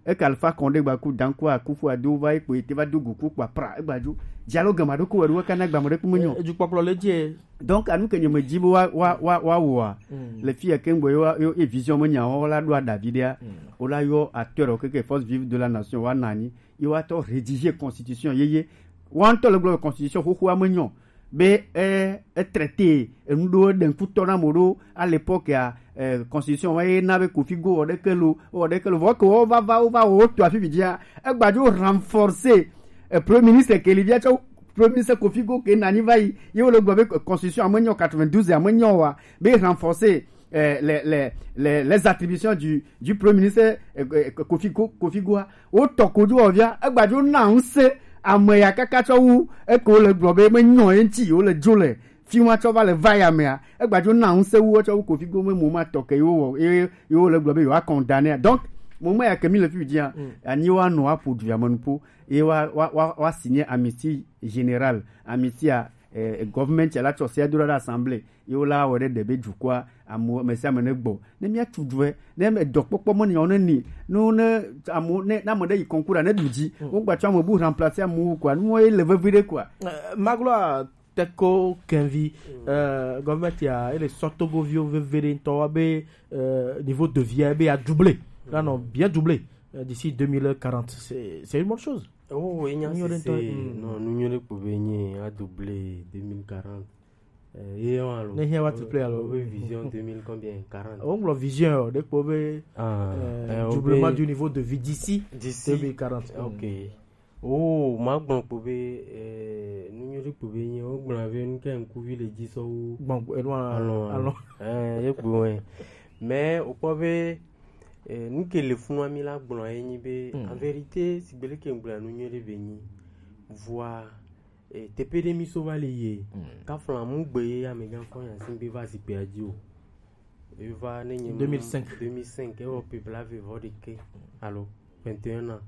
Eke Alpha Condé gba ku, Dankwa Akufo-Addo va yi kpo, ete va do go ku kpa pra, egba dzo. Dialogue ma ɖo ko wɛ ɖo, kana gba me ɖe ku me nyɔ. Edukpɔkplɔ le dzi. Donc, anu ke nye me dzi be wa, wa, wa, wa wɔa. Le fi ya ke ŋgbe yo, yo, ye vision me nya wo la ɖo aɖavi ɖea. Wo la yɔ acteur o keke force vive de la nation wa nanyi. Ye wa tɔ rédiger constitution yeye. Wa ŋutɔ le gblɔ constitution xoxoa me nyɔ. Be, eh, e traité, enu ɖo ɖe ŋkutɔ na mo ɖo, à l'époque ya, eh, constitution wa ye na be Kofi Go wɔ ɖeke lo, wɔ ɖeke lo. Vɔ ke wo va, va, wo va, wo to afi vidzia, egba dzo renforcer, eh, premier ministre ke li via tsɔ, premier ministre Kofi Go ke nanyi va yi, ye wo le gblɔ be, eh, constitution ame nyɔ quatre-vingt-douze ame nyɔ wa, be renforcer, eh, les, les, les, les attributions du, du premier ministre, eh, eh, Kofi Go, Kofi Goa. Wo tɔ ko dzo wɔ via, egba dzo na ŋusẽ ame ya kaka tsɔ wu, eke wo le gblɔ be me nyɔ ye ŋuti, wo le dzo le, fi ma tsɔ va le va ya mea, egba dzo na ŋusẽ wu, tsɔ wu Kofi Go me mo ma tɔ ke yo wɔ, ye, ye wo le gblɔ be yo a condamner. Donc, mo me ya ke mi le fi dzia, ani wa nɔ aƒo du ya me nuƒo, ye wa, wa, wa, wa signer amnistie générale, amnistie a, eh, government ya la tsɔ se do ɖe assemblée. Ye wo la wɔ ɖe ɖe be dukɔa, amewo, ame sia ame ne gbɔ. Ne mía tu due, ne ame dɔkpɔkpɔ me nyawo ne ni, no ne amewo, ne, ne ame ɖe yi concours ne ɖu dzi, wo gba tsɔ ame bu remplacer amewo kɔa, nu ye le vevi ɖe kɔa. Eh, Magloire Teko Kenvi, eh, gɔvmɛnti ya, ele sɔ Togoviwo veve ɖe ŋutɔ wa be, eh, niveau de vie be ya doubler, la nɔ bien doubler, eh, d'ici deux mille quarante. C'est, c'est une bonne chose. Oh, oui, non, nu nyuie ɖe kpo be nye a doubler deux mille quarante. Eh, ye wa lo. Ne hia wa tu play alo. Obe vision deux mille combien? Quarante. O nglo vision o, de kpo be, ah, eh, eh, doublement du niveau de vie d'ici deux mille quarante. Ok. Oh, ma gbɔn kpo be, eh, nu nyuie ɖe kpo be nye, o gbɔn be nu ke ŋkuvi le dzi sɔ wo. Gbɔn, eh, non, alɔ, alɔ. Eh, ye kpo we. Mais o kpɔ be, eh, nu ke le funu mi la gbɔn ye nyi be, en vérité, si gbele ke gbɔn nu nyuie ɖe be nyi. Vɔa, eh, teƒe ɖe mi so va le ye. Kafla mu gbe ye amegã fɔ ya si be va zikpea dzi o. Eva ne nye deux mille cinq. Deux mille cinq, ewɔ pe blaeve vɔ ɖekɛ alo vingt et un ans.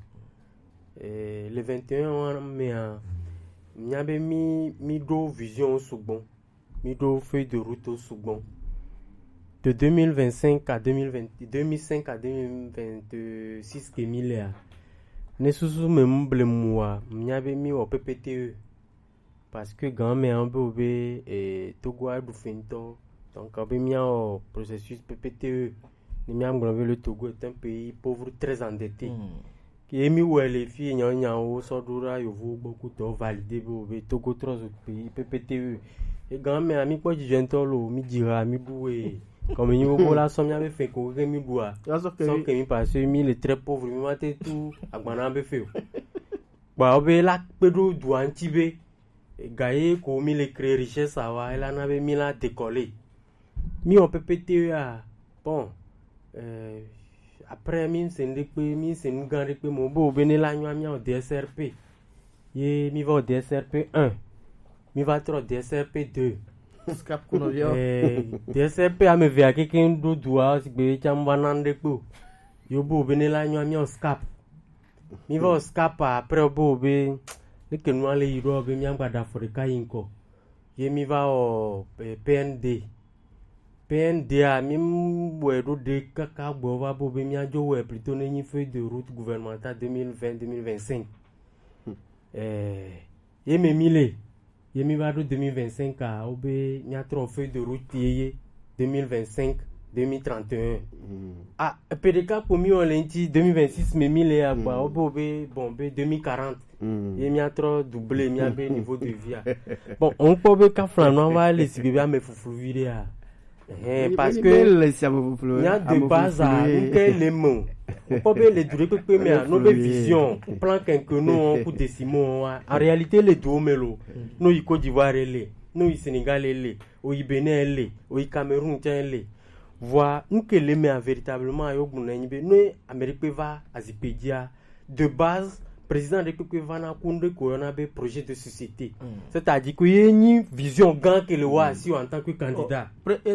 Eh, le vingt et un ans mea, mía be mi, mi ɖo vision sugbɔ, mi ɖo feuille de route sugbɔ. De deux mille vingt-cinq à deux mille vingt, deux mille cinq à deux mille vingt-six ke mi lea, ne susu me mu ble mua, mía be mi wɔ P P T E. Parce que gan mea be o be, eh, Togo a ɖu fe ŋutɔ. Donc, be mía wɔ processus P P T E. Ne mía gblɔ be le Togo est un pays pauvre, très endetté. Ye mi wɛ le fi nya nyawo sɔ ɖo ɖa yovo gbɔ ku tɔ validé be o be Togo trɔ zu pays P P T E. E gan mea mi kpɔ dzidzɔ ŋutɔ lo, mi dzi ha mi ɖu we. Kɔmi nyi wo la sɔ mía be fe ko ke mi ɖua. Sɔ ke mi parce que mi le très pauvre, mi ma te tu agbana be fe o. Kpa wo be la kpe ɖo dua ŋuti be, ga ye ko mi le créer richesse awa, ela na be mi la décoller. Mi wɔ P P T E a, bon, euh, après mi se nu ɖe kpe, mi se nu gã ɖe kpe mo be o be ne la nyɔ mi wɔ D S R P. Ye mi va wɔ D S R P un. Mi va trɔ D S R P deux. Scap kunɔ viɔ. Eh, D S R P ame evea keke ɖo dua sigbe tsã va na ɖe kpo. Yo bo be ne la nyɔ mi o scap. Mi va o scap après bo be ne ke nua le yi ɖo be mi agba da fo ɖeka yi ŋkɔ. Ye mi va o eh, P N D. P N D a mi wɛ ɖo ɖe kaka gbɔ va bo be mi adzo wɛ plutôt ne nyi feuille de route gouvernementale deux mille vingt deux mille vingt-cinq. Eh, ye me mi le ye mi va ɖo deux mille vingt-cinq a wo be mi atrɔ feuille de route ye ye deux mille vingt-cinq deux mille trente et un. Ah, pe ɖeka kpo mi wɔ le ŋti deux mille vingt-six me mi le agba wo be wo be bon be deux mille quarante. Ye mi atrɔ doubler mi abe niveau de vie a. Bon, on kpɔ be kafla nɔ va le si be ame fuflu vi ɖe a. Eh, parce que Le sia fuflu. Nya de base a, nke le me o. Kpɔ be le du ɖekpekpe me a, no be vision, plan quinquennaux ku décimaux wa. En réalité, le du me lo. No yi Côte d'Ivoire le, no yi Sénégal le, o yi Bénin le, o yi Cameroun tsã le. Vɔa, nke le me a véritablement yo gbɔna nyi be no Amérique va azikpe dzia. De base, président ɖekpekpe va na ku ŋɖe ko yɔna be projet de société. C'est-à-dire que ye nyi vision gã ke le wa si en tant que candidat. Pre- e-